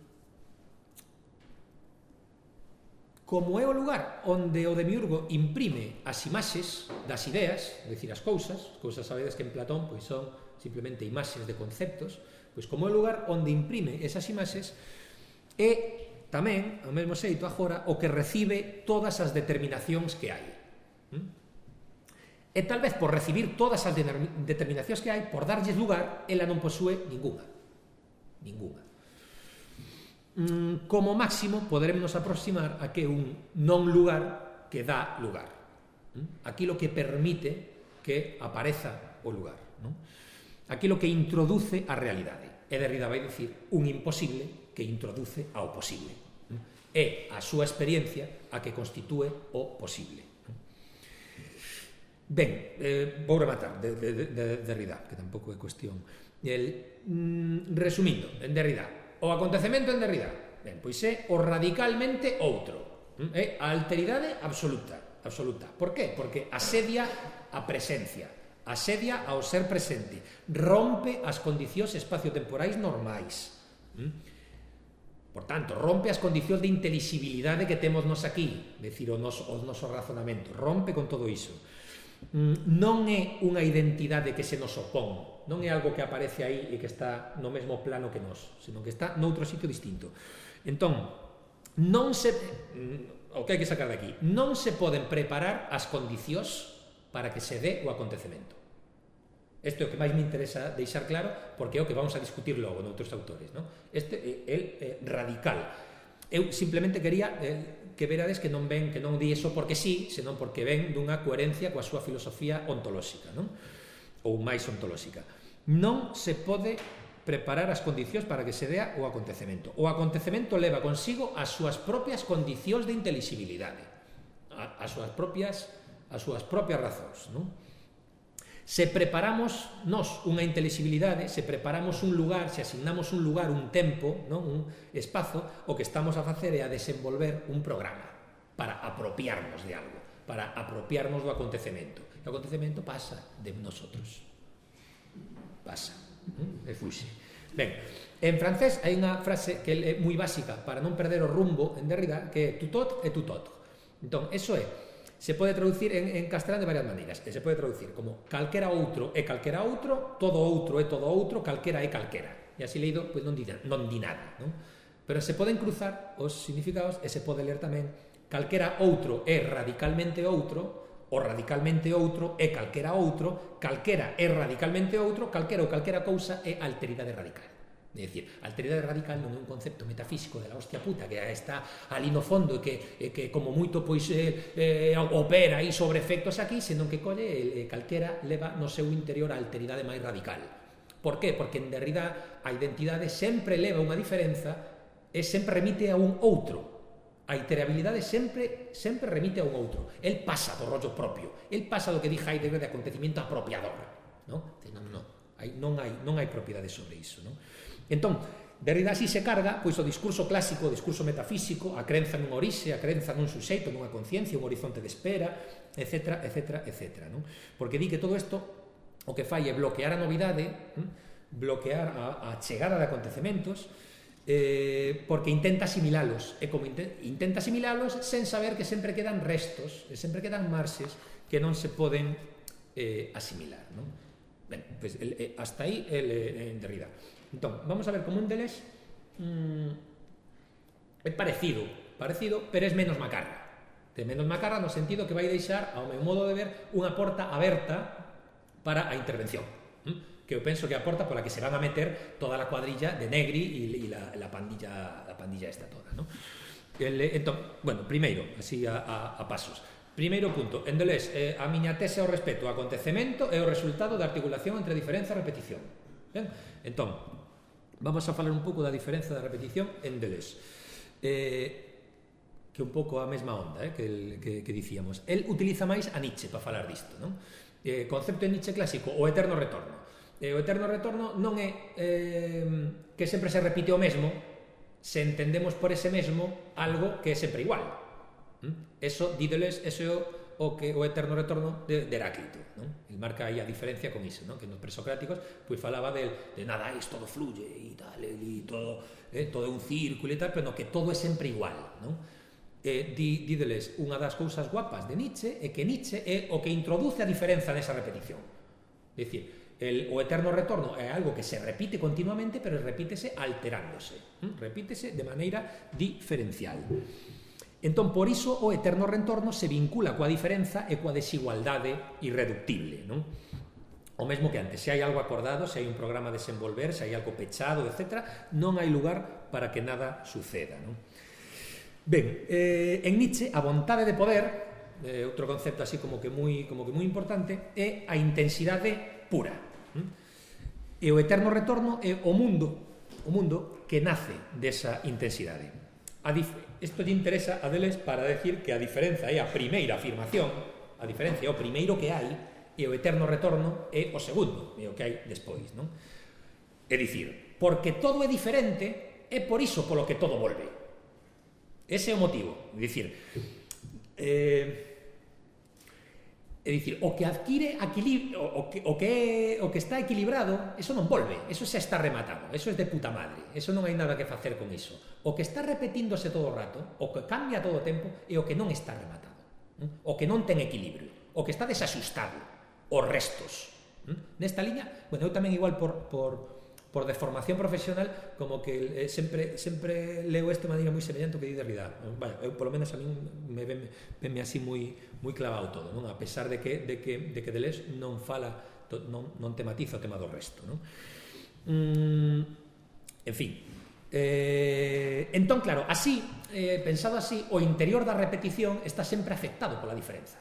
como é o lugar onde o demiurgo imprime as imaxes das ideas, é dicir, as cousas, as cousas sabedes que en Platón pois son simplemente imaxes de conceptos, pois como é o lugar onde imprime esas imaxes, é tamén, ao mesmo xeito agora, o que recibe todas as determinacións que hai. E tal vez por recibir todas as determinacións que hai, por darlles lugar, ela non posúe ninguna. Ninguna. Como máximo, poderemos aproximar a que un non lugar que dá lugar. Aquilo que permite que apareza o lugar. Aquilo que introduce a realidade. E Derrida vai dicir un imposible que introduce ao posible. É a súa experiencia a que constitúe o posible. Ben, eh, vou rematar de, de, de Derrida, que tampouco é cuestión. El, mm, resumindo, en Derrida, o acontecemento en Derrida, ben, pois é o radicalmente outro. É a alteridade absoluta. absoluta. Por qué? Porque asedia a presencia, asedia ao ser presente, rompe as condicións espaciotemporais normais. Por tanto, rompe as condicións de intelixibilidade que temos nos aquí, decir, o noso, o noso razonamento, rompe con todo iso. Non é unha identidade que se nos opón, non é algo que aparece aí e que está no mesmo plano que nós, senón que está noutro sitio distinto. Entón, non se, o que hai que sacar de aquí, non se poden preparar as condicións para que se dé o acontecemento. Isto é o que máis me interesa deixar claro, porque é o que vamos a discutir logo noutros autores, non? Este é el radical. Eu simplemente quería eh, que verades que non ven, que non di eso porque sí, senón porque ven dunha coherencia coa súa filosofía ontolóxica, non? Ou máis ontolóxica. Non se pode preparar as condicións para que se dea o acontecemento. O acontecemento leva consigo as súas propias condicións de intelixibilidade, as súas propias, as súas propias razóns, non? Se preparamos nós unha intelixibilidade, se preparamos un lugar, se asignamos un lugar, un tempo, non? Un espazo, o que estamos a facer é a desenvolver un programa para apropiarnos de algo, para apropiarnos do acontecemento. O acontecemento pasa de nosotros. Pasa. E fuxe. Ben, en francés hai unha frase que é moi básica para non perder o rumbo en Derrida, que é tu tot e tu tot. Entón, eso é, se pode traducir en, en castelán de varias maneiras, e se pode traducir como calquera outro é calquera outro, todo outro é todo outro, calquera é calquera. E así leído, pois non di, non di nada, non? Pero se poden cruzar os significados e se pode ler tamén calquera outro é radicalmente outro, o radicalmente outro é calquera outro, calquera é radicalmente outro, calquera ou calquera cousa é alteridade radical. É dicir, alteridade radical non é un concepto metafísico de la hostia puta que está ali no fondo e que, e que como moito pois eh, eh, opera aí sobre efectos aquí, senón que colle eh, calquera leva no seu interior a alteridade máis radical. Por qué? Porque en Derrida a identidade sempre leva unha diferenza e sempre remite a un outro. A iterabilidade sempre sempre remite a un outro. El pasa do rollo propio, el pasa do que di Heidegger de acontecimiento apropiador, non? Non, non, hai, non, hai, non hai propiedade sobre iso, non? Entón, Derrida así se carga pois o discurso clásico, o discurso metafísico, a crenza nun orixe, a crenza nun suxeito, nunha conciencia, un horizonte de espera, etcétera, etcétera, etcétera, non? Porque di que todo isto o que fai é bloquear a novidade, bloquear a, a chegada de acontecementos, eh, porque intenta asimilalos, e como intenta asimilalos sen saber que sempre quedan restos, e sempre quedan marxes que non se poden eh, asimilar, non? Ben, pues, el, eh, hasta aí el, eh, en Derrida. Entón, vamos a ver como un deles mmm, é parecido, parecido, pero é menos macarra. É menos macarra no sentido que vai deixar, ao meu modo de ver, unha porta aberta para a intervención, hm? Que eu penso que a porta pola que se van a meter toda a cuadrilla de Negri e la, la pandilla la pandilla esta toda, ¿no? El, entón, bueno, primeiro, así a, a, a pasos. Primeiro punto, en Deleuze, eh, a miña tese ao respecto ao acontecemento é o resultado da articulación entre diferenza e repetición. Ben? Entón, vamos a falar un pouco da diferenza da repetición en Deleuze, eh, que un pouco a mesma onda eh, que, el, que, que dicíamos. El utiliza máis a Nietzsche para falar disto, non? Eh, concepto en Nietzsche clásico, o eterno retorno. Eh, o eterno retorno non é eh, que sempre se repite o mesmo se entendemos por ese mesmo algo que é sempre igual. ¿Mm? Eso, di Deleuze, eso é o, o o que o eterno retorno de, de Heráclito, non? El marca aí a diferencia con iso, non? Que nos presocráticos pois falaba de, de nada, es todo fluye e tal, e todo, eh, todo é un círculo e tal, pero no, que todo é sempre igual, non? Eh, di, dídeles, unha das cousas guapas de Nietzsche é que Nietzsche é o que introduce a diferenza nesa repetición. É dicir, el, o eterno retorno é algo que se repite continuamente, pero repítese alterándose, ¿m? repítese de maneira diferencial. Entón, por iso, o eterno retorno se vincula coa diferenza e coa desigualdade irreductible, non? O mesmo que antes, se hai algo acordado, se hai un programa a desenvolver, se hai algo pechado, etcétera, non hai lugar para que nada suceda, non? Ben, eh, en Nietzsche, a vontade de poder, eh, outro concepto así como que moi, como que moi importante, é a intensidade pura. ¿Mm? E o eterno retorno é o mundo, o mundo que nace desa intensidade. A dif- Isto lle interesa a deles para decir que a diferenza é a primeira afirmación, a diferencia é o primeiro que hai, e o eterno retorno é o segundo, é o que hai despois, non? É dicir, porque todo é diferente, é por iso polo que todo volve. Ese é o motivo. É dicir, eh, é dicir, o que adquire equilibrio, o que, o, que, o que está equilibrado, eso non volve, eso xa está rematado, eso é de puta madre, eso non hai nada que facer con iso. O que está repetíndose todo o rato, o que cambia todo o tempo, é o que non está rematado, o que non ten equilibrio, o que está desaxustado, os restos. Nesta liña, bueno, eu tamén igual por, por, por deformación profesional, como que eh, sempre, sempre leo isto de maneira moi semellante que di Derrida. Vaya, eu polo menos a min me venme, venme así moi, moi clavado todo, non? A pesar de que, de que, de que Deleuze non fala, to, non, non tematiza o tema do resto, non? Mm, en fin, eh, entón, claro, así, eh, pensado así, o interior da repetición está sempre afectado pola diferenza.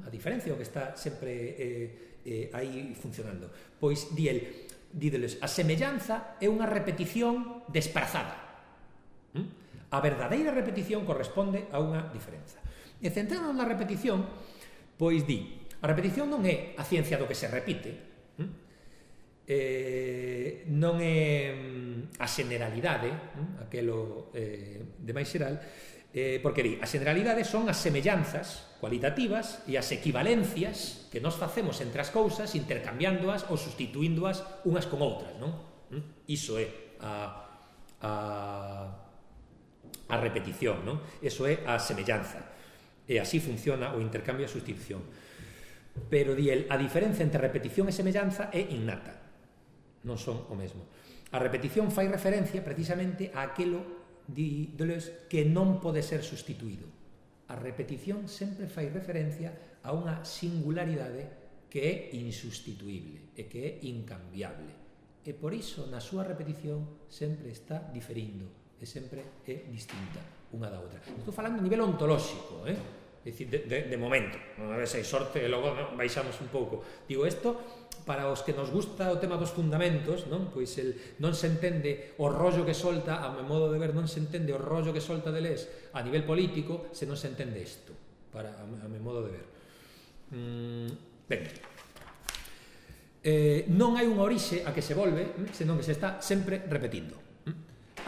A diferencia é o que está sempre eh, eh, aí funcionando. Pois, di el, dídeles, a semellanza é unha repetición desprazada. A verdadeira repetición corresponde a unha diferenza. E centrándonos na repetición, pois di, a repetición non é a ciencia do que se repite, eh, non é a generalidade, aquelo eh, de máis xeral, eh, porque di, as generalidades son as semellanzas cualitativas e as equivalencias que nos facemos entre as cousas intercambiándoas ou sustituíndoas unhas con outras, non? Iso é a, a, a repetición, non? Iso é a semellanza. E así funciona o intercambio e a sustitución. Pero, di el, a diferenza entre repetición e semellanza é innata. Non son o mesmo. A repetición fai referencia precisamente a aquelo, di Deleuze, que non pode ser sustituído. A repetición sempre fai referencia a unha singularidade que é insustituíble e que é incambiable. E por iso, na súa repetición, sempre está diferindo e sempre é distinta unha da outra. Estou falando a nivel ontolóxico, eh? É dicir, de, de, de momento. A ver se hai sorte e logo no, baixamos un pouco. Digo, isto, para os que nos gusta o tema dos fundamentos, non? Pois el, non se entende o rollo que solta, a meu modo de ver, non se entende o rollo que solta Deleuze a nivel político se non se entende isto, para, a, a meu modo de ver. Mm, ben, eh, non hai unha orixe a que se volve, senón que se está sempre repetindo.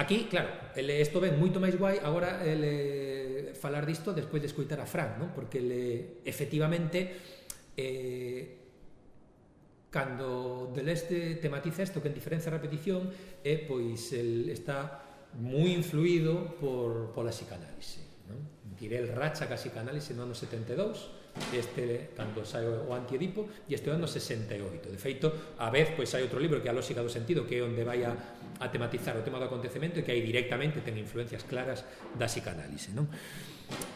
Aquí, claro, ele, isto ven moito máis guai agora ele, falar disto despois de escoitar a Fran, non? Porque ele, efectivamente, eh, cando Deleuze tematiza isto que en diferencia a repetición, é, pois, el está moi influído por, pola psicanálise, non? Tirel racha ca psicanálise no ano setenta e dous, este cando sai o Antiedipo, e este ano sesenta e oito. De feito, a vez, pois hai outro libro que é a Lógica do Sentido, que é onde vai a, a tematizar o tema do acontecemento e que aí directamente ten influencias claras da psicanálise, non?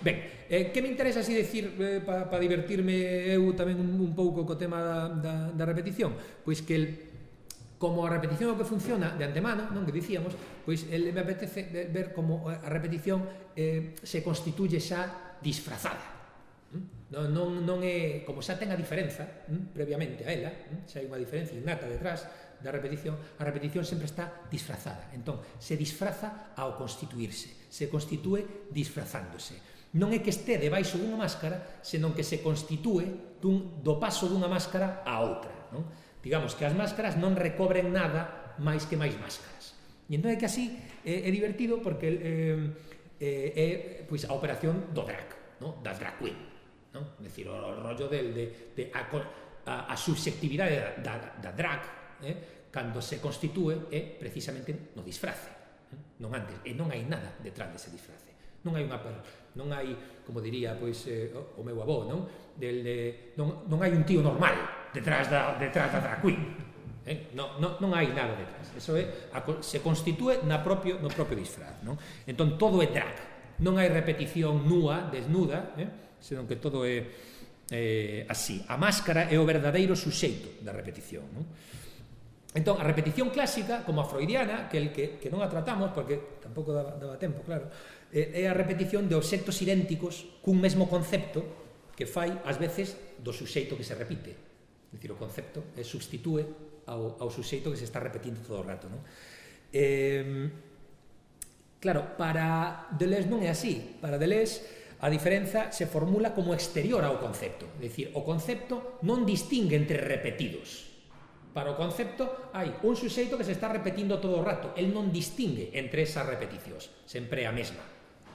Ben, eh, que me interesa así decir eh, para pa divertirme eu tamén un, un pouco co tema da, da, da repetición? Pois que el, como a repetición é o que funciona de antemano, non, que dicíamos, pois el, me apetece ver como a repetición eh, se constituye xa disfrazada. Non, non, non é, como xa ten a diferenza hm, previamente a ela, hm, xa hai unha diferencia innata detrás da repetición, a repetición sempre está disfrazada. Entón, se disfraza ao constituirse, se constitúe disfrazándose. Non é que este debaixo dunha máscara, senón que se constitúe dun, do paso dunha máscara a outra, non? Digamos que as máscaras non recobren nada máis que máis máscaras. E entón é que así é, é divertido porque é, é, é pois, a operación do drag, non? Das drag queen. non? É dicir, o rollo de, de, de a, a, a subxectividade da, da drag, eh, cando se constitúe é precisamente no disfrace, eh? non antes, e non hai nada detrás dese disfrace, non hai unha non hai, como diría pois eh, o, o meu avó, non? Del, de, non, non hai un tío normal detrás da, detrás da drag queen, eh? non, non, non hai nada detrás, eso é, a, se constitúe na propio, no propio disfraz, non? Entón todo é drag, non hai repetición nua, desnuda, eh? senón que todo é eh, así. A máscara é o verdadeiro suxeito da repetición, non? Entón, a repetición clásica, como a freudiana, que, el que, que non a tratamos, porque tampouco daba, daba tempo, claro, é a repetición de obxectos idénticos cun mesmo concepto que fai, ás veces, do suxeito que se repite. É dicir, o concepto é substitúe ao, ao suxeito que se está repetindo todo o rato, non? Eh... Claro, para Deleuze non é así. Para Deleuze a diferenza se formula como exterior ao concepto. É dicir, o concepto non distingue entre repetidos. Para o concepto hai un suxeito que se está repetindo todo o rato. El non distingue entre esas repeticións. Sempre é a mesma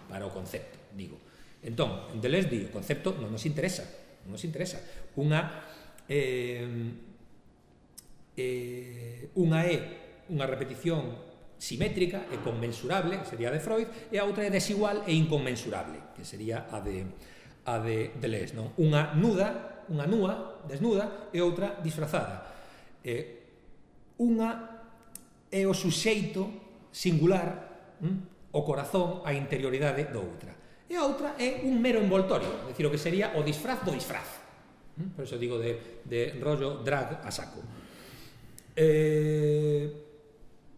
para o concepto, digo. Entón, en Deleuze di, o concepto non nos interesa. Non nos interesa. Unha, eh, eh, unha é unha repetición simétrica e conmensurable, que sería a de Freud, e a outra é desigual e inconmensurable, que sería a de, a de Deleuze, non? Unha nuda, unha nua, desnuda, e outra disfrazada. Eh, unha é o suxeito singular, hm? o corazón, a interioridade do outra. E a outra é un mero envoltorio, é dicir, o que sería o disfraz do disfraz. Hm? Por eso digo de, de rollo drag a saco. Eh,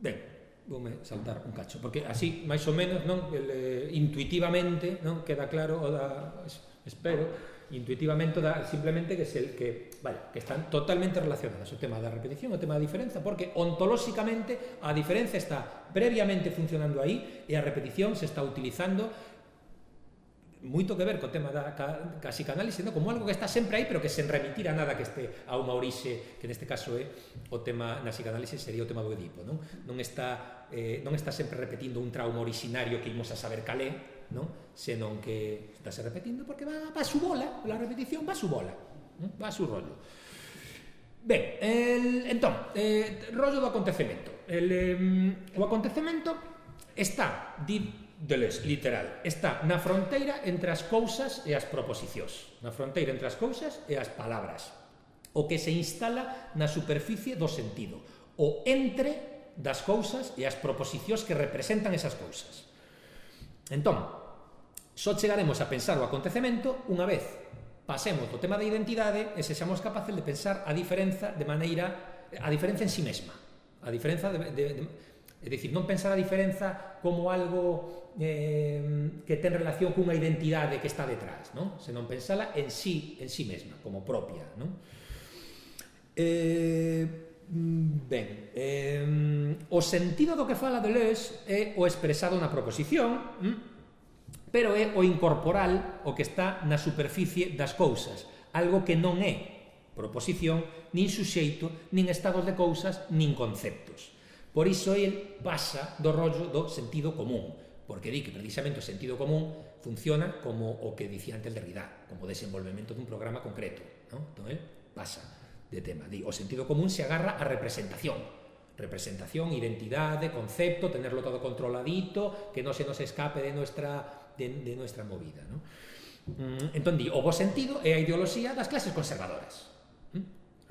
ben, voume saltar un cacho, porque así, máis ou menos, non, el, intuitivamente, non, queda claro, o da, espero, intuitivamente da, simplemente que, se, que, vale, que están totalmente relacionadas o tema da repetición, o tema da diferenza, porque ontolóxicamente a diferenza está previamente funcionando aí e a repetición se está utilizando moito que ver co tema da ca, ca psicanálise, no? Como algo que está sempre aí, pero que sen remitir a nada que este a unha orixe, que neste caso é o tema na psicanálise sería o tema do Edipo, non? Non está, eh, non está sempre repetindo un trauma originario que imos a saber calé, non? Senón que está se repetindo porque va, va a su bola, la repetición va a su bola, non? Va a su rollo. Ben, el, entón, eh, rollo do acontecemento. El, eh, o acontecemento está, di Deleuze, literal, está na fronteira entre as cousas e as proposicións, na fronteira entre as cousas e as palabras, o que se instala na superficie do sentido, o entre das cousas e as proposicións que representan esas cousas. Entón, só chegaremos a pensar o acontecemento unha vez pasemos do tema da identidade e sexamos capaces de pensar a diferenza de maneira, a diferenza en si mesma, a diferenza de, de, de é dicir, non pensar a diferenza como algo eh, que ten relación cunha identidade que está detrás, non? Senón pensala en sí, en sí mesma, como propia, non? Eh, ben, eh, o sentido do que fala Deleuze é o expresado na proposición, hm? Pero é o incorporal o que está na superficie das cousas, algo que non é proposición, nin suxeito, nin estados de cousas, nin conceptos. Por iso el pasa do rollo do sentido común, porque di que precisamente o sentido común funciona como o que dicía antes Derrida, como desenvolvemento dun programa concreto, non? Entón, el pasa de tema. Di, o sentido común se agarra a representación, representación, identidade, concepto, tenerlo todo controladito, que non se nos escape de nuestra, de, de nuestra movida, non? Entón, di, o bo sentido é a ideoloxía das clases conservadoras.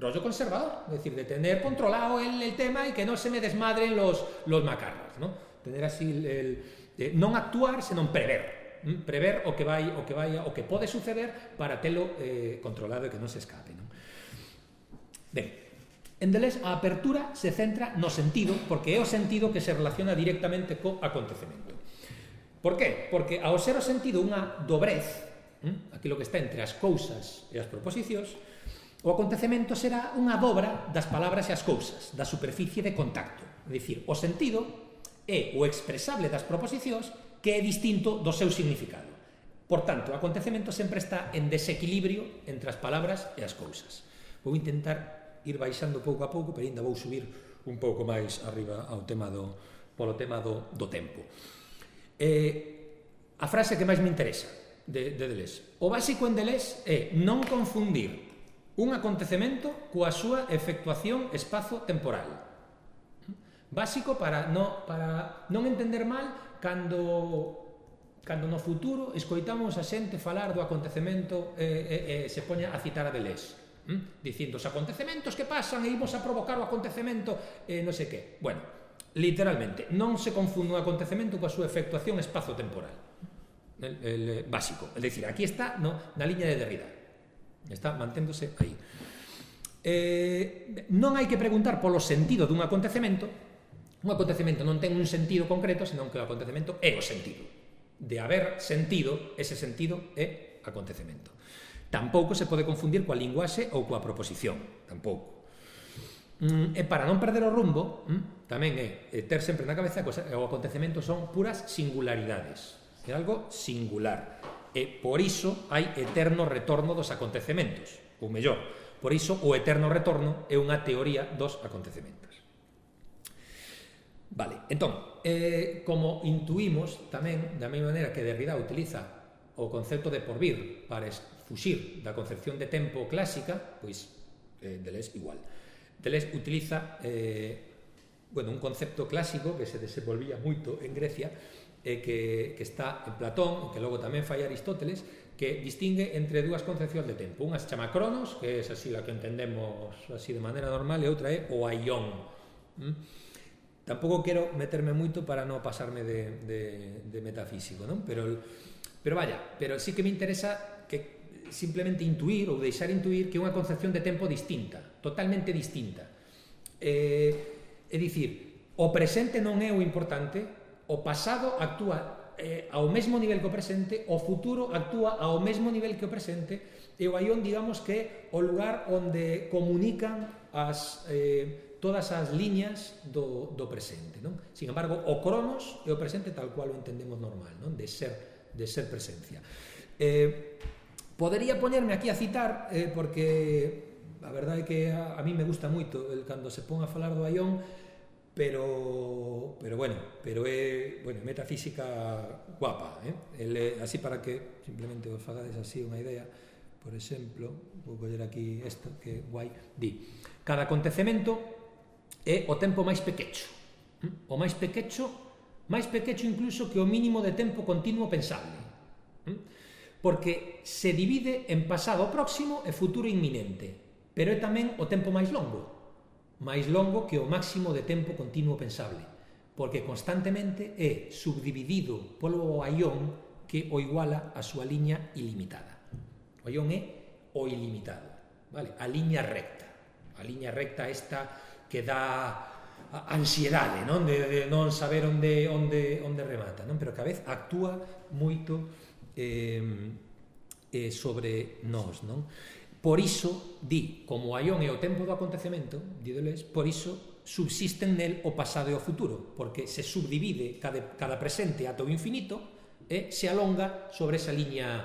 Rollo conservador, es decir, de tener controlado el, el tema y que no se me desmadren los, los macarras, ¿no? Tener así el, el eh, non actuar, senón prever, ¿m? Prever o que vai, o que vai, o que pode suceder para telo eh, controlado e que non se escape, ¿no? Ben, en Deleuze a apertura se centra no sentido, porque é o sentido que se relaciona directamente co acontecemento. Por qué? Porque ao ser o sentido unha dobrez, ¿m? Aquilo que está entre as cousas e as proposicións, o acontecemento será unha dobra das palabras e as cousas, da superficie de contacto. É dicir, o sentido é o expresable das proposicións que é distinto do seu significado. Por tanto, o acontecemento sempre está en desequilibrio entre as palabras e as cousas. Vou intentar ir baixando pouco a pouco, pero ainda vou subir un pouco máis arriba ao tema do, polo tema do, do tempo. Eh, a frase que máis me interesa de, de Deleuze. O básico en Deleuze é non confundir un acontecemento coa súa efectuación espazo-temporal. Básico para non, para non entender mal cando, cando no futuro escoitamos a xente falar do acontecemento e, e, e se poña a citar a Deleuze. ¿Mm? Dicindo, os acontecementos que pasan e imos a provocar o acontecemento e non sei que. Bueno, literalmente, non se confunde un acontecemento coa súa efectuación espazo-temporal. El, el, básico. É dicir, aquí está no, na liña de Derrida. Está manténdose aí. Eh, non hai que preguntar polo sentido dun acontecemento. Un acontecemento non ten un sentido concreto, senón que o acontecemento é o sentido. De haber sentido, ese sentido é acontecemento. Tampouco se pode confundir coa linguaxe ou coa proposición. Tampouco. Mm, e para non perder o rumbo, mm, tamén é, é ter sempre na cabeza que o acontecemento son puras singularidades. É algo singular. E por iso hai eterno retorno dos acontecementos. Ou mellor, por iso o eterno retorno é unha teoría dos acontecementos. Vale, entón, eh, como intuímos tamén, da mesma maneira que Derrida utiliza o concepto de porvir para fuxir da concepción de tempo clásica, pois eh, Deleuze igual. Deleuze utiliza eh, bueno, un concepto clásico que se desenvolvía moito en Grecia e que, que está en Platón, e que logo tamén fai Aristóteles, que distingue entre dúas concepcións de tempo. Unha se chama Cronos, que é así la que entendemos así de maneira normal, e outra é o aión. ¿Mm? Tampouco quero meterme moito para non pasarme de, de, de metafísico, non? Pero, pero vaya, pero sí que me interesa que simplemente intuir ou deixar intuir que é unha concepción de tempo distinta, totalmente distinta. Eh, é dicir, o presente non é o importante, o pasado actúa eh, ao mesmo nivel que o presente, o futuro actúa ao mesmo nivel que o presente, e o aión, digamos que é o lugar onde comunican as... Eh, todas as liñas do, do presente, non? Sin embargo, o cronos é o presente tal cual o entendemos normal, non? De ser, de ser presencia. Eh, podería poñerme aquí a citar, eh, porque a verdade é que a, a mí me gusta moito el cando se pon a falar do aión, pero, pero bueno, pero é, bueno, metafísica guapa, eh? El, así para que simplemente vos fagades así unha idea, por exemplo, vou coller aquí isto, que guai, di, cada acontecemento é o tempo máis pequecho. O máis pequecho, máis pequecho incluso que o mínimo de tempo continuo pensable. Porque se divide en pasado próximo e futuro inminente, pero é tamén o tempo máis longo, máis longo que o máximo de tempo continuo pensable, porque constantemente é subdividido polo aión que o iguala a súa liña ilimitada. O aión é o ilimitado, vale? A liña recta. A liña recta esta que dá ansiedade, non? De, de non saber onde, onde, onde remata, non? Pero que a vez actúa moito eh, eh, sobre nós, non? Por iso, di, como o aión é o tempo do acontecemento, di Deleuze, por iso subsisten nel o pasado e o futuro, porque se subdivide cada, cada presente ata o infinito e se alonga sobre esa liña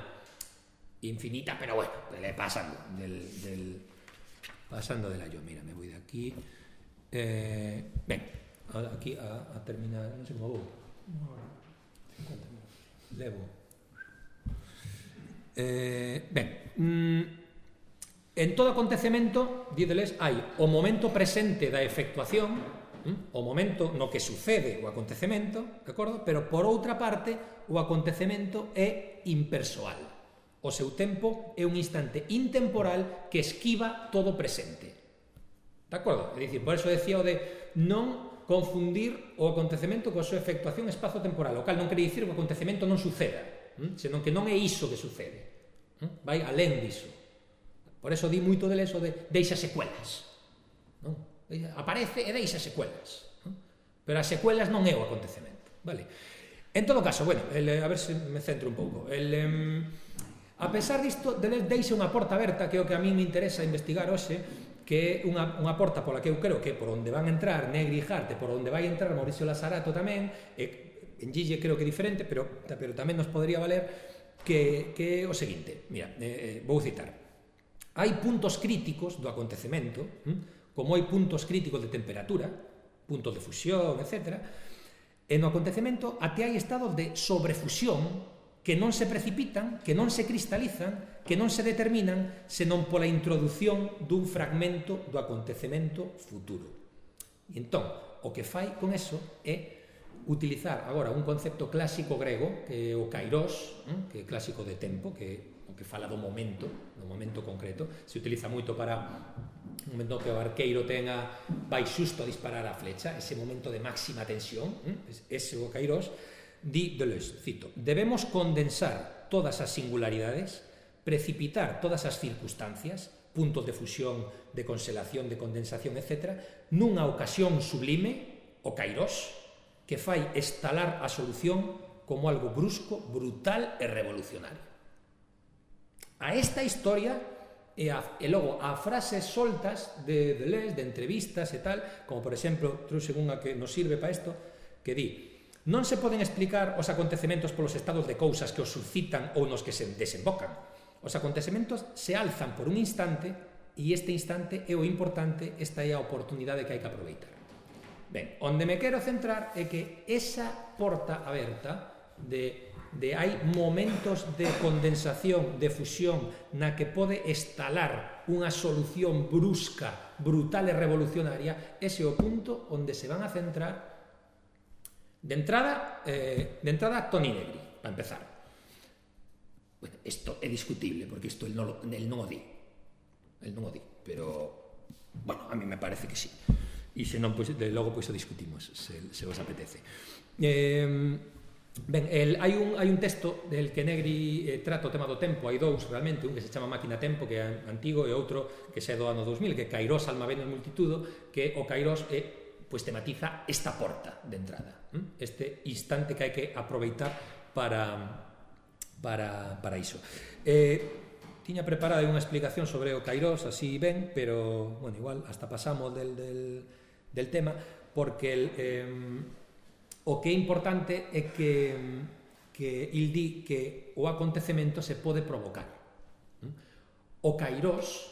infinita, pero bueno, pasando del, del, pasando del aión. Mira, me voy de aquí. Eh, ben, aquí a, a terminar, non sei como vou. Levo. Eh, ben, mm, en todo acontecemento, di Deleuze, hai o momento presente da efectuación, mm, o momento no que sucede o acontecemento, de acordo? Pero por outra parte, o acontecemento é impersoal. O seu tempo é un instante intemporal que esquiva todo presente. De acordo? É dicir, por eso decía o de non confundir o acontecemento coa súa efectuación espazo-temporal, o cal non quere dicir que o acontecemento non suceda, senón que non é iso que sucede, vai alén diso. Por eso di moito deles o de deixa secuelas, non? Aparece e deixa secuelas, non? Pero as secuelas non é o acontecemento, vale? En todo caso, bueno, el, a ver se me centro un pouco. El, um, a pesar disto, Deleuze deixa unha porta aberta, que é o que a mí me interesa investigar hoxe, que é unha, unha porta pola que eu creo que por onde van entrar Negri e Hart, por onde vai entrar Mauricio Lazarato tamén, e en Gille creo que é diferente, pero, pero tamén nos podría valer, que, que é o seguinte, mira, eh, vou citar. Hai puntos críticos do acontecemento, hm? Como hai puntos críticos de temperatura, puntos de fusión, etcétera, e no acontecemento até hai estados de sobrefusión, que non se precipitan, que non se cristalizan, que non se determinan, senón pola introdución dun fragmento do acontecemento futuro. E entón, o que fai con eso é utilizar agora un concepto clásico grego, que é o kairos, que é clásico de tempo, que é o que fala do momento, do momento concreto, se utiliza moito para un momento que o arqueiro tenga, vai xusto a disparar a flecha, ese momento de máxima tensión, ese o kairos. Di Deleuze, cito, debemos condensar todas as singularidades, precipitar todas as circunstancias, puntos de fusión, de conselación, de condensación, etcétera, nunha ocasión sublime, o kairos, que fai estalar a solución como algo brusco, brutal e revolucionario. A esta historia e, a, e logo a frases soltas de Deleuze, de entrevistas e tal, como por exemplo, trouxe unha que nos sirve para isto, que di: non se poden explicar os acontecementos polos estados de cousas que os suscitan ou nos que se desembocan. Os acontecementos se alzan por un instante e este instante é o importante, esta é a oportunidade que hai que aproveitar. Ben, onde me quero centrar é que esa porta aberta de, de hai momentos de condensación, de fusión, na que pode estalar unha solución brusca, brutal e revolucionaria, ese é o punto onde se van a centrar. De entrada, eh, de entrada, Toni Negri, para empezar. Bueno, isto é discutible, porque isto el non, lo, el non o di. El non o di, pero, bueno, a mí me parece que sí. E se non, pois, de logo, pois, o discutimos, se, se vos apetece. Eh, ben, el, hai, un, hai un texto del que Negri eh, trata o tema do tempo, hai dous, realmente, un que se chama Máquina Tempo, que é antigo, e outro que se é do ano dos mil, que é Kairos, Alma, Venus, Multitudo, que o Kairos é pois tematiza esta porta de entrada, este instante que hai que aproveitar para, para, para iso. Eh, tiña preparada unha explicación sobre o kairos, así ben, pero, bueno, igual, hasta pasamos del, del, del tema, porque el, eh, o que é importante é que, que il di que o acontecemento se pode provocar. O kairos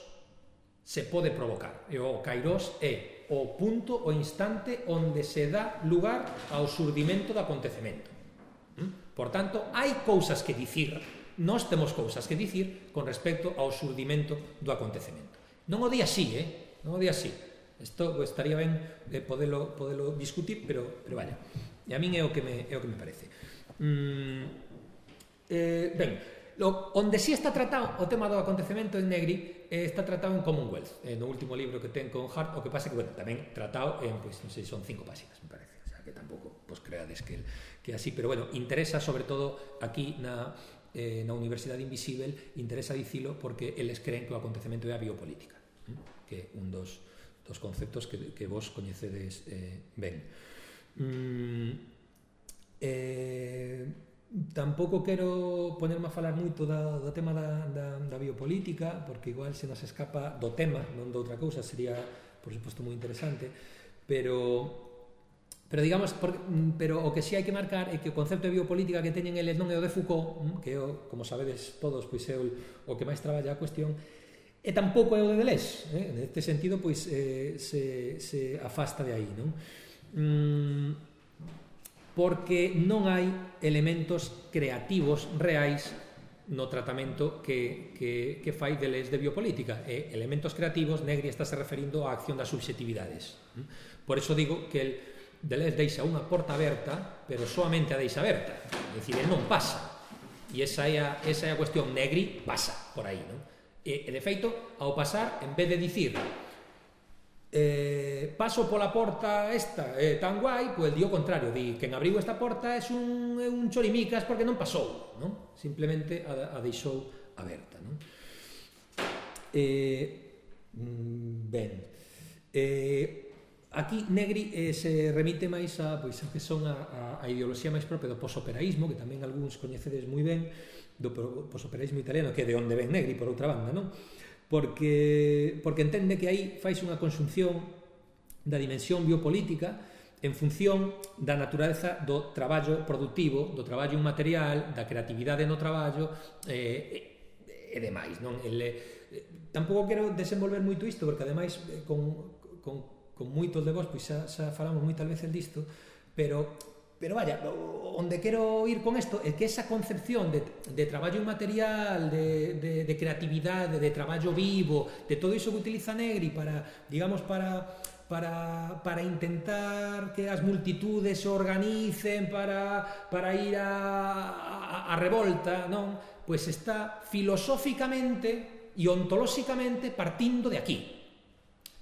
se pode provocar, e o kairos é o punto, o instante onde se dá lugar ao surdimento do acontecemento. Por tanto, hai cousas que dicir, nós temos cousas que dicir con respecto ao surdimento do acontecemento. Non o di así, eh? Non o di así. Isto estaría ben eh, podelo, podelo discutir, pero, pero vaya, e a min é o que me, é o que me parece. Mm, eh, ben, Lo, onde si está tratado o tema do acontecemento en Negri eh, está tratado en Commonwealth, eh, no último libro que ten con Hart, o que pasa que, bueno, tamén tratado en, pues, non sei, son cinco páxinas, me parece, o sea, que tampouco, pues, creades que, que así, pero, bueno, interesa sobre todo aquí na, eh, na Universidade Invisible, interesa dicilo porque eles creen que o acontecemento é a biopolítica, ¿eh? Que é un dos, dos conceptos que, que vos coñecedes eh, ben. Mm, eh... Tampouco quero ponerme a falar moito da, do tema da, da, da biopolítica, porque igual se nos escapa do tema, non de outra cousa, sería, por suposto, moi interesante, pero, pero digamos, por, pero o que si hai que marcar é que o concepto de biopolítica que teñen eles non é o de Foucault, que é o, como sabedes todos, pois é o, o que máis traballa a cuestión, e tampouco é o de Deleuze, eh? Neste sentido, pois, eh, se, se afasta de aí, non? Mm, porque non hai elementos creativos reais no tratamento que, que, que fai Deleuze de biopolítica. E elementos creativos, Negri estáse referindo á acción das subxetividades. Por eso digo que el Deleuze deixa unha porta aberta, pero soamente a deixa aberta. É dicir, ele non pasa. E esa é a, esa é a cuestión. Negri pasa por aí, non? E, e de feito, ao pasar, en vez de dicir Eh, paso pola porta esta eh, tan guai, pois di o contrario, di que en abriu esta porta é un, é un chorimicas porque non pasou, non? Simplemente a, a deixou aberta, non? Eh, ben, eh, aquí Negri eh, se remite máis a, pois, a que son a, a, a ideoloxía máis propia do posoperaísmo, que tamén algúns coñecedes moi ben, do posoperaísmo italiano, que é de onde ven Negri, por outra banda, non? Porque, porque entende que aí fais unha conxunción da dimensión biopolítica en función da natureza do traballo productivo, do traballo inmaterial, da creatividade no traballo eh, e, e demais, non? El, eh, tampouco quero desenvolver moito isto, porque ademais eh, con, con, con moitos de vos pois xa, xa falamos moitas veces disto, pero pero vaya, onde quero ir con isto é que esa concepción de, de traballo inmaterial, de, de, de creatividade, de traballo vivo, de todo iso que utiliza Negri para, digamos, para, para, para intentar que as multitudes se organicen para, para ir a, a, a revolta, non? Pois está filosóficamente e ontolóxicamente partindo de aquí.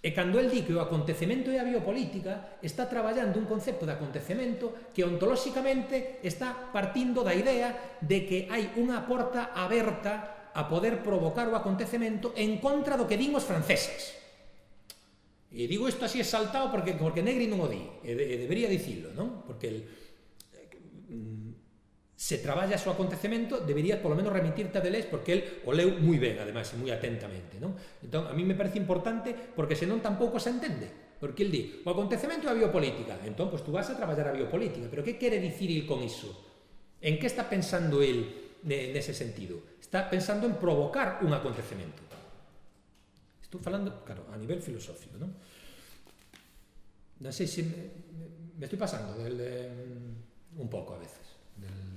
E cando el di que o acontecemento é a biopolítica, está traballando un concepto de acontecemento que ontolóxicamente está partindo da idea de que hai unha porta aberta a poder provocar o acontecemento en contra do que din os franceses. E digo isto así exaltado porque, porque Negri non o di, e, de, e debería dicilo, non? Porque el, se traballa o acontecemento, debería polo menos remitirte a Deleuze, porque el o leu moi ben, ademais, e moi atentamente, non? Entón, a mí me parece importante, porque senón tampouco se entende, porque el di, o acontecemento é a biopolítica, entón, pois tú vas a traballar a biopolítica, pero que quere dicir il con iso? En que está pensando el nese sentido? Está pensando en provocar un acontecemento. Estou falando, claro, a nivel filosófico, non? Non sei se me, me estou pasando del, um, un pouco a veces, del...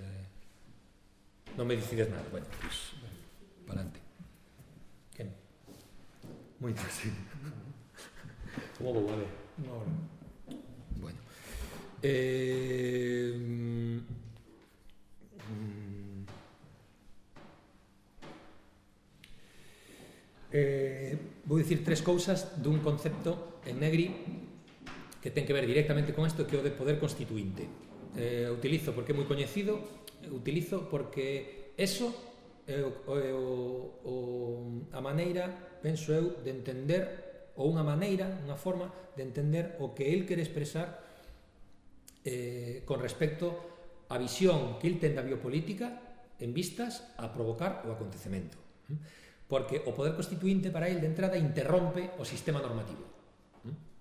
Non me decides nada, bueno, pues, para adelante. ¿Qué? Muy fácil. ¿Cómo vou a ver? Una hora. Bueno. Eh, mm, eh, vou dicir tres cousas dun concepto en Negri que ten que ver directamente con isto, que é o de poder constituinte. Eh, utilizo porque é moi coñecido, utilizo porque eso é, o, é o, o, a maneira, penso eu, de entender, ou unha maneira, unha forma de entender o que el quere expresar eh, con respecto á visión que el ten da biopolítica en vistas a provocar o acontecemento. Porque o poder constituinte para el de entrada interrompe o sistema normativo.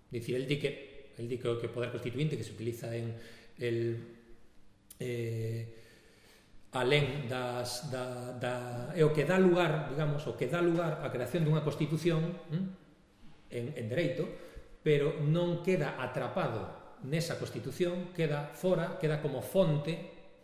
Dicir, el di que, el di que o poder constituinte que se utiliza en el... Eh, alén das, da, da, é o que dá lugar, digamos, o que dá lugar á creación dunha constitución en, en dereito, pero non queda atrapado nesa constitución, queda fora, queda como fonte,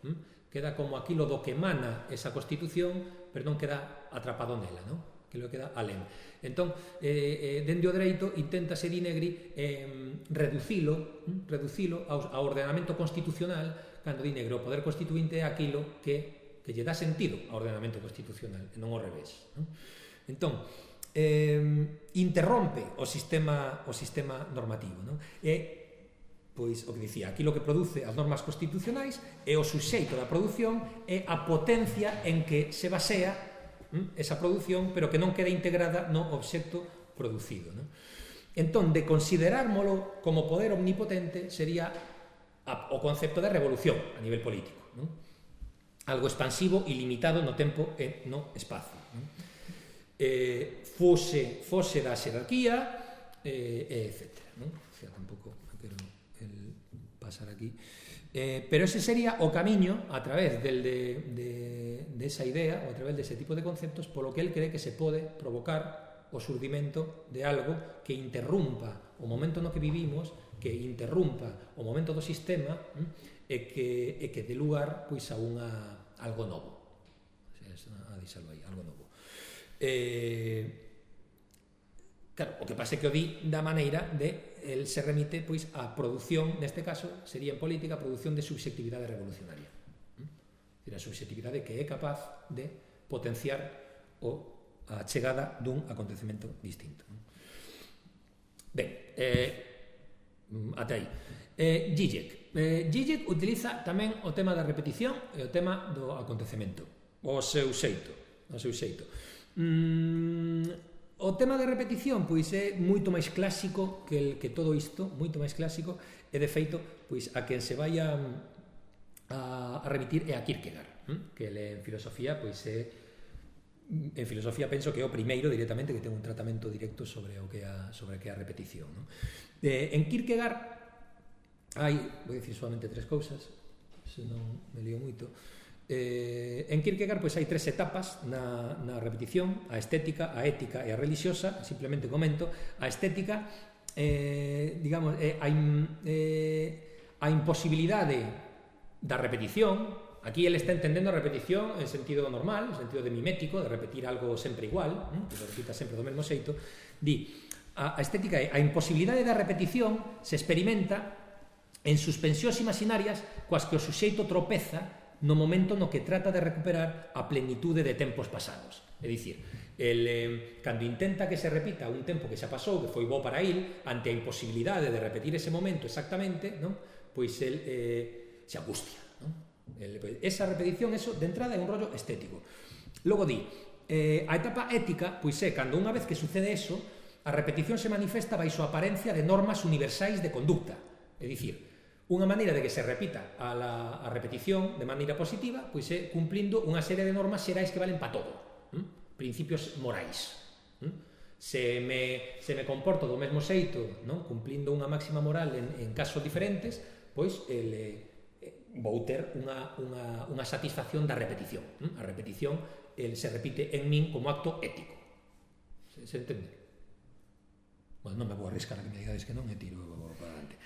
queda como aquilo do que emana esa constitución, pero non queda atrapado nela, non? Que lo queda alén. Entón, eh, eh, dende o dereito inténtase di Negri eh, reducilo, reducilo ao, ao ordenamento constitucional. Cando di Negri o poder constituinte é aquilo que, que lle dá sentido ao ordenamento constitucional, e non ao revés, non? Entón, eh, interrompe o sistema, o sistema normativo, non? E, pois, o que dicía, aquilo que produce as normas constitucionais é o suxeito da produción, é a potencia en que se basea hm, esa produción, pero que non queda integrada no obxecto producido, non? Entón, de considerármolo como poder omnipotente sería o concepto de revolución a nivel político, non? Algo expansivo, ilimitado no tempo e no espacio, non? Eh, fose, fose da xerarquía, eh, etcétera, non? O sea, tampouco quero el pasar aquí, eh, pero ese sería o camiño a través del de, de, de esa idea ou a través dese tipo de conceptos polo que el cree que se pode provocar o surdimento de algo que interrumpa o momento no que vivimos, que interrumpa o momento do sistema e que, e que dé lugar pois, a unha, algo novo. A deixarlo aí, algo novo. Eh, claro, o que pasa é que o di da maneira de el se remite pois, a produción, neste caso, sería en política a produción de subxectividade revolucionaria. A subxectividade que é capaz de potenciar o, a chegada dun acontecemento distinto. Ben, eh, ata aí. Eh, Zizek. Eh, Zizek utiliza tamén o tema da repetición e o tema do acontecemento. O seu xeito. O seu xeito. Mm, o tema da repetición pois é moito máis clásico que, el, que todo isto, moito máis clásico, e de feito, pois a quen se vai a, a, a remitir é a Kierkegaard, hm? Que ele en filosofía pois é en filosofía penso que é o primeiro directamente que ten un tratamento directo sobre o que é a, sobre o que é a repetición, non? Eh, en Kierkegaard hai, vou dicir solamente tres cousas, senón me lío moito. Eh, en Kierkegaard pois hai tres etapas na, na repetición: a estética, a ética e a religiosa. Simplemente comento a estética, eh, digamos, eh, a, in, eh, a imposibilidade da repetición. Aquí ele está entendendo a repetición en sentido normal, en sentido de mimético, de repetir algo sempre igual, que lo repita sempre do mesmo xeito. Di, a, a estética é a imposibilidade da repetición se experimenta en suspensións imaginarias coas que o suxeito tropeza no momento no que trata de recuperar a plenitude de tempos pasados. É dicir, el, eh, cando intenta que se repita un tempo que xa pasou, que foi bo para il, ante a imposibilidade de repetir ese momento exactamente, non? Pois el eh, se angustia. Non? El, pues, esa repetición, eso, de entrada, é un rollo estético. Logo di, eh, a etapa ética, pois é, cando unha vez que sucede eso, a repetición se manifesta baixo a aparencia de normas universais de conducta. É dicir, unha maneira de que se repita a, la, a repetición de maneira positiva, pois é cumplindo unha serie de normas xerais que valen para todo. ¿Mm? Principios morais. ¿Mm? Se, me, se me comporto do mesmo xeito, non? Cumplindo unha máxima moral en, en casos diferentes, pois el, eh, vou ter unha, unha, unha satisfacción da repetición. ¿Mm? A repetición el, se repite en min como acto ético. Se, se entende? Bueno, non me vou arriscar a que me digades que non, e tiro para adelante.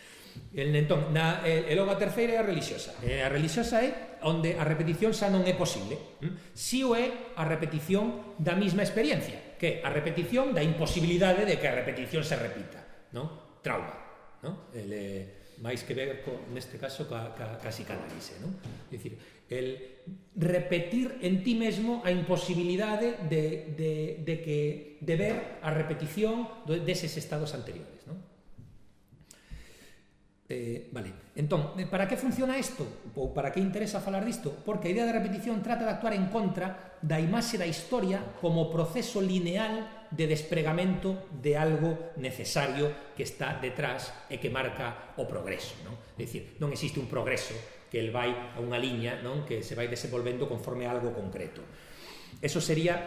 El, entón, na, e, e logo a terceira é a religiosa. E a religiosa é onde a repetición xa non é posible. ¿Mm? Si o é a repetición da mesma experiencia, que é a repetición da imposibilidade de que a repetición se repita. ¿No? Trauma. ¿No? El, eh, máis que ver, co, neste caso, ca, ca, ca psicanálise. ¿No? É dicir, el repetir en ti mesmo a imposibilidade de, de, de, que, de ver a repetición deses estados anteriores. ¿No? Eh, vale, entón, para que funciona isto? Ou para que interesa falar disto? Porque a idea de repetición trata de actuar en contra da imaxe da historia como proceso lineal de despregamento de algo necesario que está detrás e que marca o progreso, non? É dicir, non existe un progreso que el vai a unha liña, non? Que se vai desenvolvendo conforme a algo concreto. Eso sería,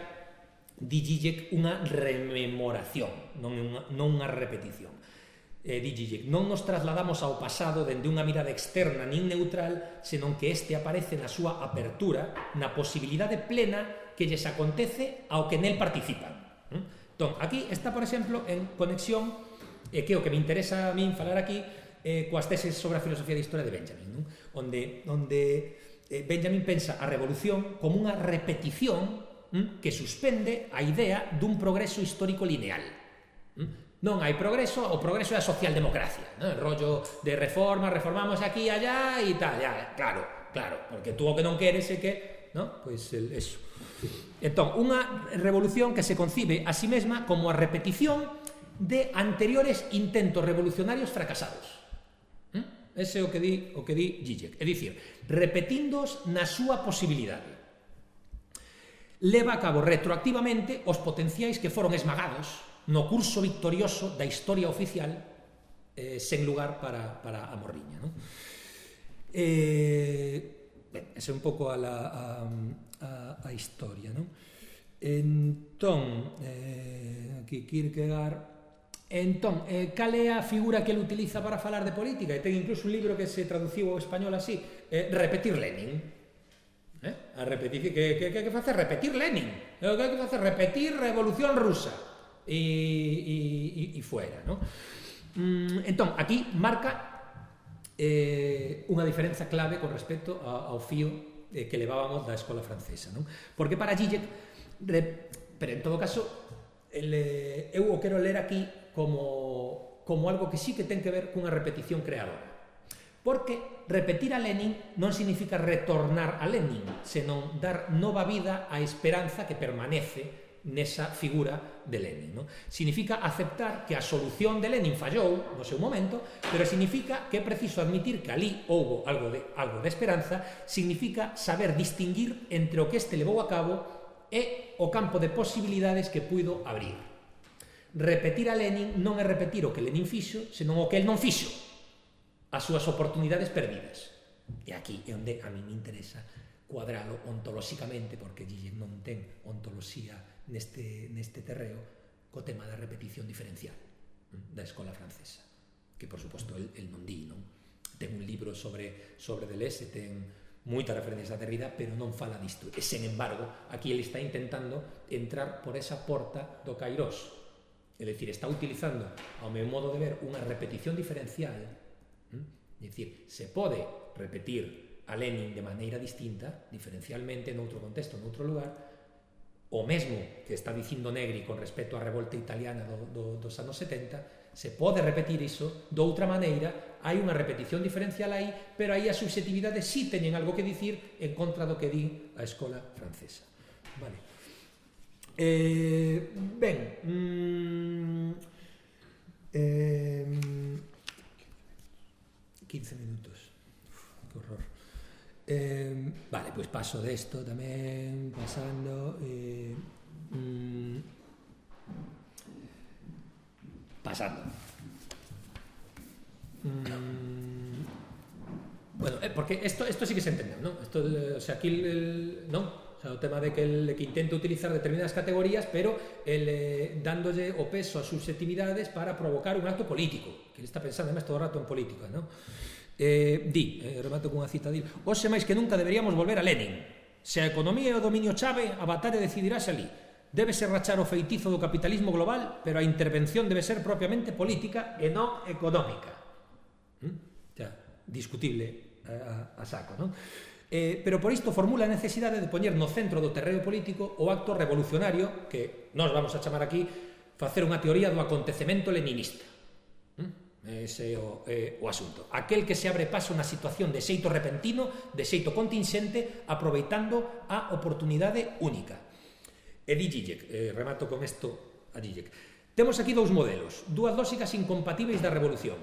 di Zizek, unha rememoración, non unha, non unha repetición. Eh, di Zizek, non nos trasladamos ao pasado dende unha mirada externa nin neutral, senón que este aparece na súa apertura, na posibilidade plena que lles acontece ao que nel participan. Entón, aquí está, por exemplo, en conexión, e que o que me interesa a min falar aquí, eh, coas teses sobre a filosofía de historia de Benjamin, non? Onde, onde eh, Benjamin pensa a revolución como unha repetición hm, que suspende a idea dun progreso histórico lineal. Hm? Non hai progreso, o progreso é a socialdemocracia, non? El rollo de reforma, reformamos aquí e allá e tal, ya, claro, claro, porque tú o que non queres é que, non? Pois el, eso. Entón, unha revolución que se concibe a sí mesma como a repetición de anteriores intentos revolucionarios fracasados. ¿Mm? Ese é o que di, o que di Zizek. É dicir, repetíndoos na súa posibilidade. Leva a cabo retroactivamente os potenciais que foron esmagados no curso victorioso da historia oficial eh, sen lugar para, para a morriña. ¿No? Eh, ben, esa é un pouco a, la, a, a, a historia. ¿No? Entón, eh, aquí Kierkegaard... Entón, eh, cal é a figura que ele utiliza para falar de política? E ten incluso un libro que se traduciu ao español así, eh, Repetir Lenin. Eh? A repetir, que, que, que, que face repetir Lenin? Que, que face repetir Revolución Rusa? E, e, e fuera, ¿no? Mm, entón, aquí marca eh, unha diferenza clave con respecto a, ao fío eh, que levábamos da escola francesa, non? Porque para Zizek, pero en todo caso, el, eh, eu o quero ler aquí como, como algo que sí que ten que ver cunha repetición creadora. Porque repetir a Lenin non significa retornar a Lenin, senón dar nova vida á esperanza que permanece nesa figura de Lenin, ¿no? Significa aceptar que a solución de Lenin fallou no seu momento, pero significa que é preciso admitir que ali houbo algo de, algo de esperanza, significa saber distinguir entre o que este levou a cabo e o campo de posibilidades que puido abrir. Repetir a Lenin non é repetir o que Lenin fixo, senón o que el non fixo, as súas oportunidades perdidas. E aquí é onde a mí me interesa cuadralo ontolóxicamente, porque Zizek non ten ontoloxía neste, neste terreo co tema da repetición diferencial da escola francesa, que por suposto el, el non di, non? Ten un libro sobre, sobre Deleuze, ten moitas referencias a Derrida, pero non fala disto, e sen embargo aquí ele está intentando entrar por esa porta do Kairos, é dicir, está utilizando ao meu modo de ver unha repetición diferencial, é dicir, se pode repetir a Lenin de maneira distinta, diferencialmente, noutro contexto, noutro lugar, o mesmo que está dicindo Negri con respecto á revolta italiana do, do, dos anos setenta, se pode repetir iso de outra maneira, hai unha repetición diferencial aí, pero aí as subjetividades sí teñen algo que dicir en contra do que di a escola francesa. Vale. Eh, ben, mmm, eh, quince minutos. Uf, que horror. Eh, vale, pois pues paso desto tamén, pasando... Eh, mmm, pasando. Mm, bueno, eh, porque esto, esto sí que se entendeu, ¿no? Esto, o sea, aquí el, el, ¿no? O sea, o tema de que, el, que intenta utilizar determinadas categorías, pero el, eh, dándolle o peso a subjetividades para provocar un acto político, que ele está pensando además todo o rato en política, ¿no? Eh, di, eh, remato cunha cita di, hoxe máis que nunca deberíamos volver a Lenin. Se a economía e o dominio chave, a batalla decidirase ali. Debe ser rachar o feitizo do capitalismo global, pero a intervención debe ser propiamente política e non económica. ¿Mm? Ya, discutible a, a, a saco, non? Eh, pero por isto formula a necesidade de poñer no centro do terreo político o acto revolucionario que nós vamos a chamar aquí facer unha teoría do acontecemento leninista. ¿Mm? Ese é o, eh, o asunto. Aquel que se abre paso na situación de xeito repentino, de xeito contingente, aproveitando a oportunidade única. E di Zizek, eh, remato con isto a Zizek. Temos aquí dous modelos, dúas lóxicas incompatíveis da revolución.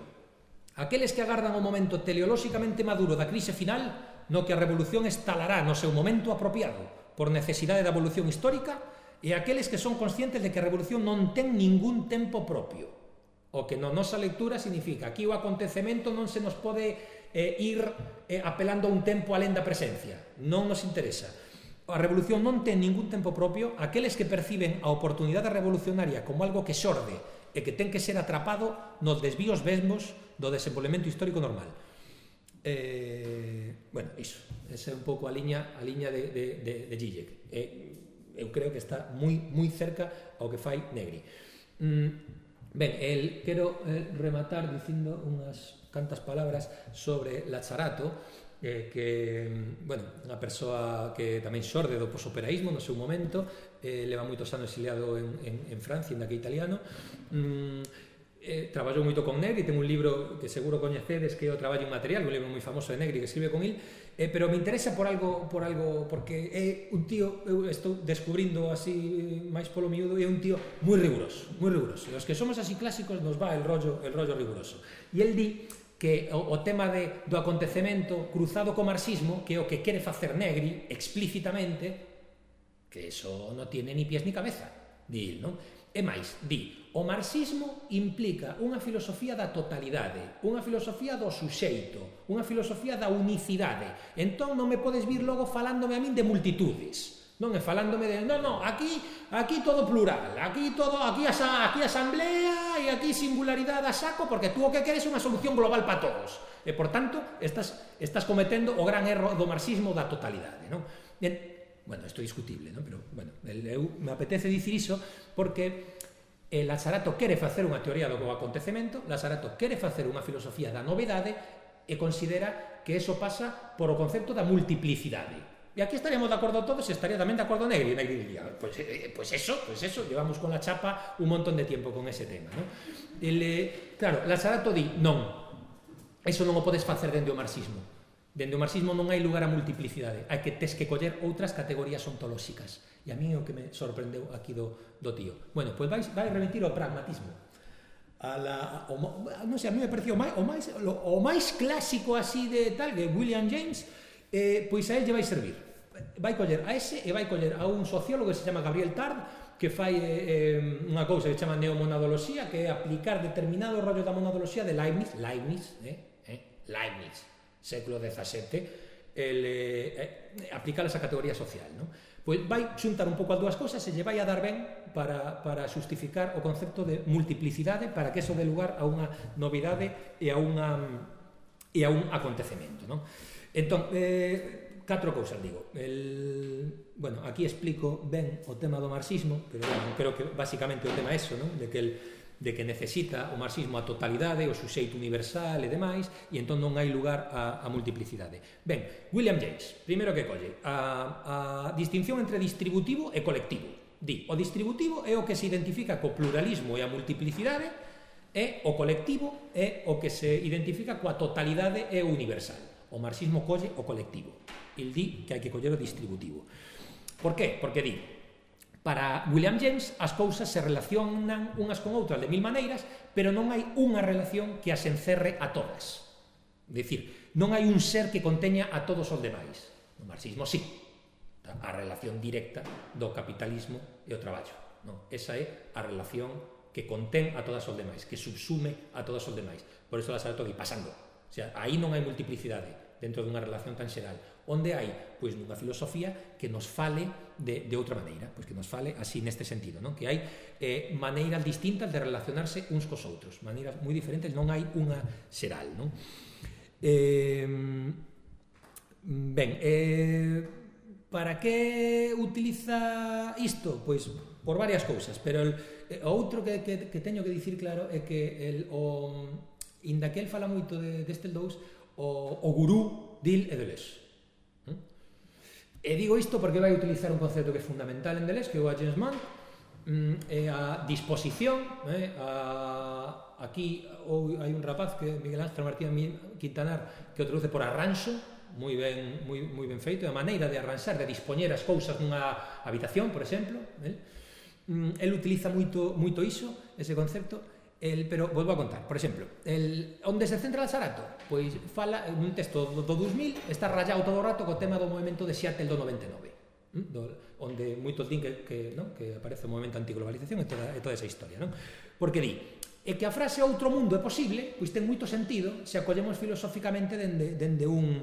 Aqueles que agardan o momento teleolóxicamente maduro da crise final, no que a revolución estalará no seu momento apropiado, por necesidade da evolución histórica, e aqueles que son conscientes de que a revolución non ten ningún tempo propio. O que na nosa lectura significa aquí o acontecemento non se nos pode eh, ir eh, apelando a un tempo alén da presencia. Non nos interesa. A revolución non ten ningún tempo propio. Aqueles que perciben a oportunidade revolucionaria como algo que xorde e que ten que ser atrapado nos desvíos mesmos do desenvolvemento histórico normal. Eh, bueno, iso. Esa é un pouco a liña, a liña de, de, de, de Zizek. Eh, eu creo que está moi, moi cerca ao que fai Negri. Mm, ben, el quero eh, rematar dicindo unhas cantas palabras sobre Lazzarato, eh, que, bueno, unha persoa que tamén xorde do posoperaísmo no seu momento, eh, leva moitos anos exiliado en, en, en Francia, en daquele italiano. Mm, Eh, traballou moito con Negri, ten un libro que seguro coñecedes que é o Traballo Inmaterial, un libro moi famoso de Negri que escribe con il, eh, pero me interesa por algo, por algo porque é un tío, eu estou descubrindo así máis polo miúdo, é un tío moi riguroso, moi riguroso. E os que somos así clásicos nos va el rollo, el rollo riguroso. E el di que o, o tema de, do acontecemento cruzado co marxismo, que é o que quere facer Negri explícitamente, que eso non tiene ni pies ni cabeza, di il, non? E máis, di, o marxismo implica unha filosofía da totalidade, unha filosofía do suxeito, unha filosofía da unicidade. Entón non me podes vir logo falándome a min de multitudes. Non é falándome de, non, non, aquí aquí todo plural, aquí todo, aquí, asa, aquí asamblea e aquí singularidade a saco, porque tú o que queres é unha solución global para todos. E, por tanto, estás, estás cometendo o gran erro do marxismo da totalidade, non? E, bueno, isto é discutible, non? Pero, bueno, eu me apetece dicir iso porque eh, Lazzarato quere facer unha teoría do acontecemento, Lazzarato quere facer unha filosofía da novedade e considera que eso pasa por o concepto da multiplicidade. E aquí estaríamos de acordo todos e estaría tamén de acordo Negri. Negri diría, pues, eh, pues eso, pues eso, llevamos con la chapa un montón de tiempo con ese tema, ¿no? El, eh, claro, Lazzarato di, non, eso non o podes facer dende o marxismo. Dende o marxismo non hai lugar a multiplicidade, hai que tes que coller outras categorías ontolóxicas. E a mí é o que me sorprendeu aquí do, do tío. Bueno, pois pues vai, vai remitir ao pragmatismo. A la, o, non sei, a mí me pareceu o máis, o máis, o máis clásico así de tal, que William James, eh, pois a él lle vai servir. Vai coller a ese e vai coller a un sociólogo que se chama Gabriel Tard, que fai eh, unha cousa que se chama neomonadoloxía, que é aplicar determinado rollo da monadoloxía de Leibniz, Leibniz, eh, eh, Leibniz, século dezasete, el, eh, aplicar esa categoría social, non? Pois vai xuntar un pouco as dúas cousas e lle vai a dar ben para, para justificar o concepto de multiplicidade, para que eso dé lugar a unha novidade e a, unha, e a un acontecemento, non? Entón, eh, catro cousas, digo. El, bueno, aquí explico ben o tema do marxismo, pero bueno, creo que basicamente o tema é eso, non? De que el de que necesita o marxismo a totalidade, o suxeito universal e demais, e entón non hai lugar a, a multiplicidade. Ben, William James, primeiro que colle, a, a distinción entre distributivo e colectivo. Di, o distributivo é o que se identifica co pluralismo e a multiplicidade, e o colectivo é o que se identifica coa totalidade e o universal. O marxismo colle o colectivo. Il di que hai que coller o distributivo. Por qué? Porque di, para William James as cousas se relacionan unhas con outras de mil maneiras, pero non hai unha relación que as encerre a todas. É dicir, non hai un ser que conteña a todos os demais. No marxismo sí, a relación directa do capitalismo e o traballo. Non, esa é a relación que contén a todas os demais, que subsume a todos os demais. Por iso la Sarato di pasando. O sea, aí non hai multiplicidade dentro dunha relación tan xeral. Onde hai? Pois nunha filosofía que nos fale de, de outra maneira, pois que nos fale así neste sentido, non? Que hai eh, maneiras distintas de relacionarse uns cos outros, maneiras moi diferentes, non hai unha xeral, non? Eh, ben, eh, para que utiliza isto? Pois por varias cousas, pero el, o outro que, que, que teño que dicir claro é que el, o, inda que el fala moito de, deste dous, o, o gurú dil e Deleuze. E digo isto porque vai utilizar un concepto que é fundamental en Deleuze, que é o agencement, é a disposición. eh, a, aquí ou, hai un rapaz, que Miguel Ángel Martín Quintanar, que o traduce por arranxo, moi ben, moi, moi ben feito, a maneira de arranxar, de dispoñer as cousas nunha habitación, por exemplo. eh. El utiliza moito, moito iso, ese concepto. El, pero volvo a contar, por exemplo, el, onde se centra Sarato? Pois fala, nun texto do, do dos mil, está rayado todo o rato co tema do movimento de Seattle do noventa e nove, ¿m? do, onde moitos din que, que, ¿no? que aparece o movimento antiglobalización e toda, e toda esa historia, ¿no? Porque di, é que a frase outro mundo é posible, pois ten moito sentido se acollemos filosóficamente dende, dende, un,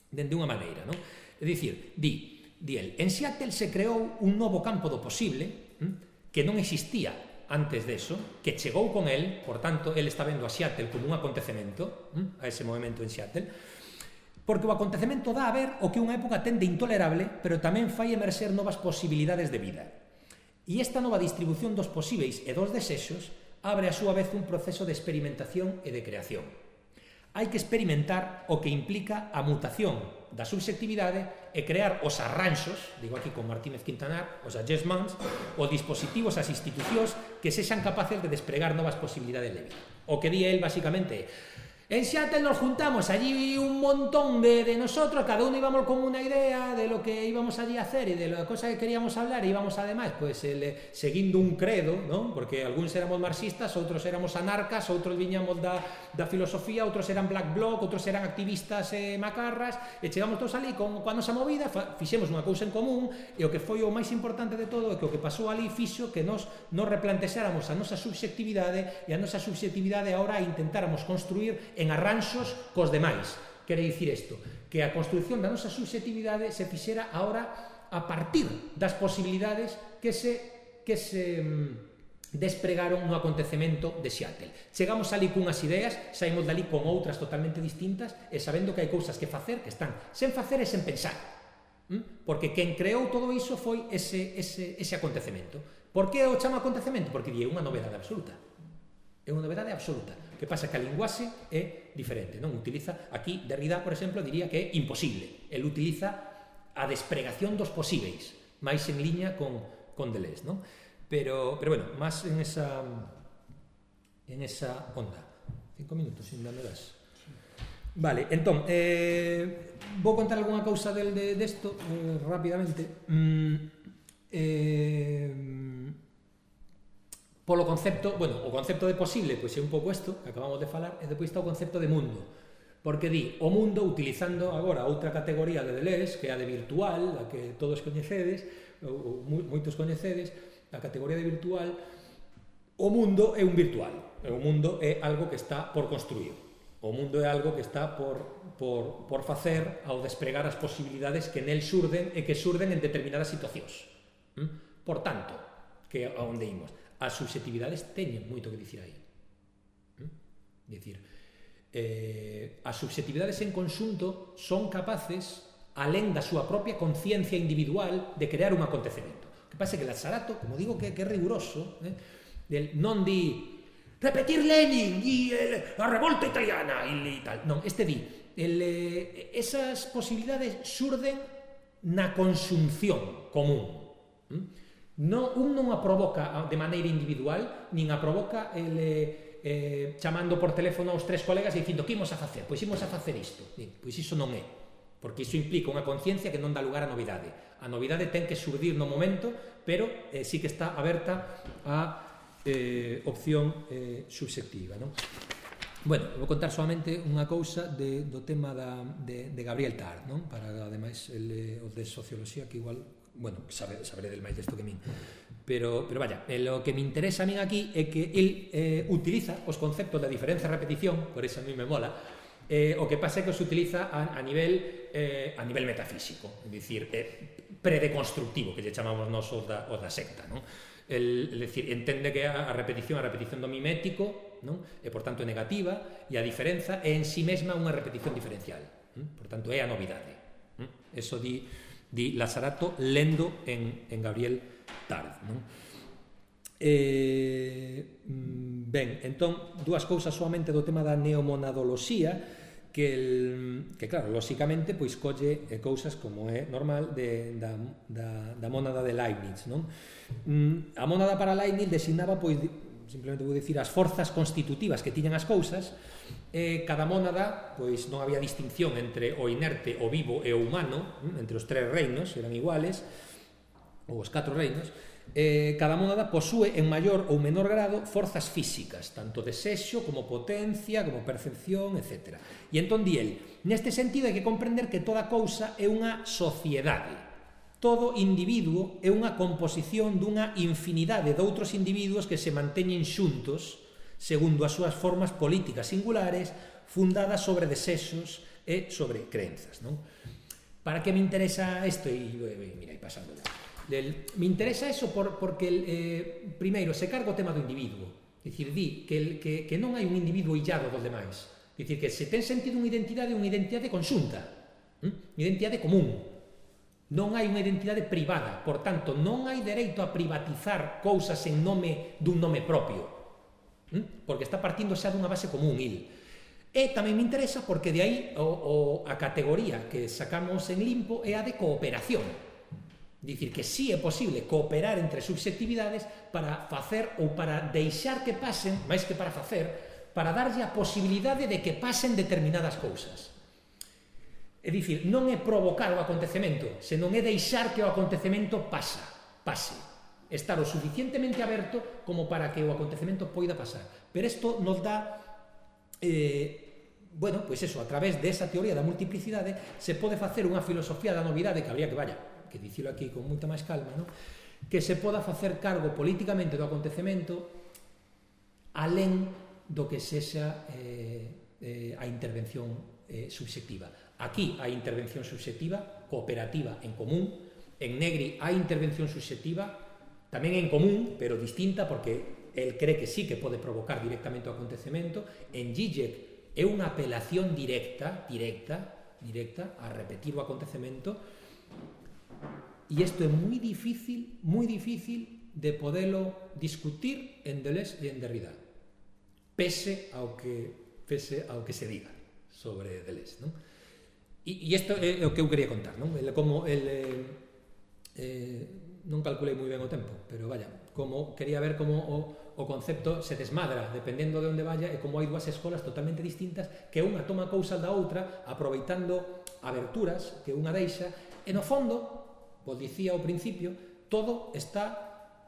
dende unha maneira, ¿no? É dicir, di, di el, en Seattle se creou un novo campo do posible, ¿m? Que non existía antes deso, que chegou con el, por tanto, el está vendo a Seattle como un acontecemento, a ese movimento en Seattle, porque o acontecemento dá a ver o que unha época ten de intolerable, pero tamén fai emerxer novas posibilidades de vida. E esta nova distribución dos posíveis e dos desexos abre a súa vez un proceso de experimentación e de creación. Hai que experimentar o que implica a mutación da subxectividade e crear os arranxos, digo aquí con Martínez Quintanar, os adjustments, os dispositivos, as institucións que sexan capaces de despregar novas posibilidades de vida. O que di el, basicamente, en Seattle nos juntamos allí un montón de, de nosotros, cada uno íbamos con una idea de lo que íbamos allí a hacer y de la cosa que queríamos hablar, e íbamos además pues el, seguindo un credo, ¿no? Porque algúns éramos marxistas, outros éramos anarcas, outros viñamos da, da filosofía, outros eran black bloc, outros eran activistas eh, macarras, e chegamos todos ali con, con a nosa movida, fa, fixemos unha cousa en común, e o que foi o máis importante de todo é que o que pasou ali fixo que nos, nos replantexáramos a nosa subxectividade, e a nosa subxectividade agora intentáramos construir en arranxos cos demais. Quere dicir isto, que a construción da nosa subxectividade se fixera agora a partir das posibilidades que se, que se despregaron no acontecemento de Seattle. Chegamos ali cunhas ideas, saímos dali con outras totalmente distintas e sabendo que hai cousas que facer que están sen facer e sen pensar. Porque quen creou todo iso foi ese, ese, ese acontecemento. Por que o chama acontecemento? Porque é unha novedade absoluta. É unha novedade absoluta. Que pasa que a linguaxe é diferente, non? Utiliza, aquí Derrida, por exemplo, diría que é imposible. El utiliza a despregación dos posíveis, máis en liña con, con Deleuze, non? Pero, pero bueno, máis en esa en esa onda. Cinco minutos, sin me das. Vale, entón, eh, vou contar algunha cousa del de, de esto eh, rapidamente. Mm, eh... Polo concepto, bueno, o concepto de posible, pois é un pouco isto que acabamos de falar, e depois está o concepto de mundo, porque di o mundo utilizando agora outra categoría de Deleuze, que é a de virtual, a que todos coñecedes, ou, ou moitos coñecedes, a categoría de virtual. O mundo é un virtual, o mundo é algo que está por construir, o mundo é algo que está por, por, por facer ao despregar as posibilidades que nel surden e que surden en determinadas situacións. Por tanto, que a onde imos? As subxectividades teñen moito que dicir aí. É dicir, eh, as subxectividades en conxunto son capaces, alén da súa propia conciencia individual, de crear un acontecemento. O que pasa é que Sarato, como digo, que, que é riguroso, eh, del non di repetir Lenin e a revolta italiana e tal. Non, este di, el, eh, esas posibilidades xurden na consumción común. Non, un non a provoca de maneira individual, nin a provoca el, eh, chamando por teléfono aos tres colegas e dicindo que imos a facer? Pois imos a facer isto. Pois iso non é, porque iso implica unha conciencia que non dá lugar a novidade. A novidade ten que surdir no momento, pero eh, sí que está aberta a eh, opción eh, subxectiva, non? Bueno, vou contar solamente unha cousa de, do tema da, de, de Gabriel Tard, non? Para, ademais, el, o de socioloxía, que igual, bueno, sabe, saberé del máis desto que min. Pero, pero vaya, eh, lo que me interesa a min aquí é que el eh, utiliza os conceptos de diferencia e repetición, por eso a mí me mola, eh, o que pasa é que os utiliza a, a nivel eh, a nivel metafísico, é dicir, eh, predeconstructivo, que lle chamamos nos os da, os da secta, non? El, el decir, entende que a, a repetición a repetición do mimético, non? E por tanto é negativa, e a diferenza é en si mesma unha repetición diferencial, non? Por tanto é a novidade, non? Eso di, di Lazarato lendo en, en Gabriel Tard, non? Eh, ben, entón, dúas cousas solamente do tema da neomonadoloxía, que, el, que claro, lóxicamente, pois colle eh, cousas como é normal de, da, da, da mónada de Leibniz, non? Mm, a mónada para Leibniz designaba, pois, simplemente vou dicir, as forzas constitutivas que tiñan as cousas, e cada mónada, pois non había distinción entre o inerte, o vivo e o humano, entre os tres reinos, eran iguales, ou os catro reinos. Eh, cada mónada posúe en maior ou menor grado forzas físicas, tanto desexo como potencia, como percepción, etcétera. E entón di el, neste sentido hai que comprender que toda cousa é unha sociedade. Todo individuo é unha composición dunha infinidade de outros individuos que se manteñen xuntos segundo as súas formas políticas singulares fundadas sobre desexos e sobre crenzas, non? Para que me interesa isto? E, mira, aí pasando del, me interesa eso por, porque el, eh, primeiro se carga o tema do individuo, é dicir, di que, el, que, que non hai un individuo illado dos demais, é dicir, que se ten sentido unha identidade, unha identidade conxunta, hm? Unha identidade común, non hai unha identidade privada, por tanto, non hai dereito a privatizar cousas en nome dun nome propio, hm? Porque está partindo xa dunha base común, il. E tamén me interesa porque de aí o, o, a categoría que sacamos en limpo é a de cooperación. Dicir que sí é posible cooperar entre subxectividades para facer ou para deixar que pasen, máis que para facer, para darlle a posibilidade de que pasen determinadas cousas. É dicir, non é provocar o acontecemento, senón é deixar que o acontecemento pasa, pase. Estar o suficientemente aberto como para que o acontecemento poida pasar. Pero isto nos dá, eh, bueno, pois eso, a través desa teoría da multiplicidade se pode facer unha filosofía da novidade que habría que, vaya, que dicilo aquí con moita máis calma, non? Que se poda facer cargo políticamente do acontecemento alén do que sexa eh, eh, a intervención eh, subxectiva. Aquí hai intervención subxectiva, cooperativa en común, en Negri hai intervención subxectiva, tamén en común, pero distinta, porque el cree que sí que pode provocar directamente o acontecemento. En Zizek é unha apelación directa, directa, directa, a repetir o acontecemento. E isto é moi difícil, moi difícil de podelo discutir en Deleuze e en Derrida, pese ao que, pese ao que se diga sobre Deleuze, non? E, e isto é o que eu quería contar, non? El, como el, eh, eh, non calculei moi ben o tempo, pero vaya, como quería ver como o, o concepto se desmadra dependendo de onde vaya, e como hai dúas escolas totalmente distintas que unha toma cousas da outra aproveitando aberturas que unha deixa, e no fondo, vos dicía ao principio, todo está,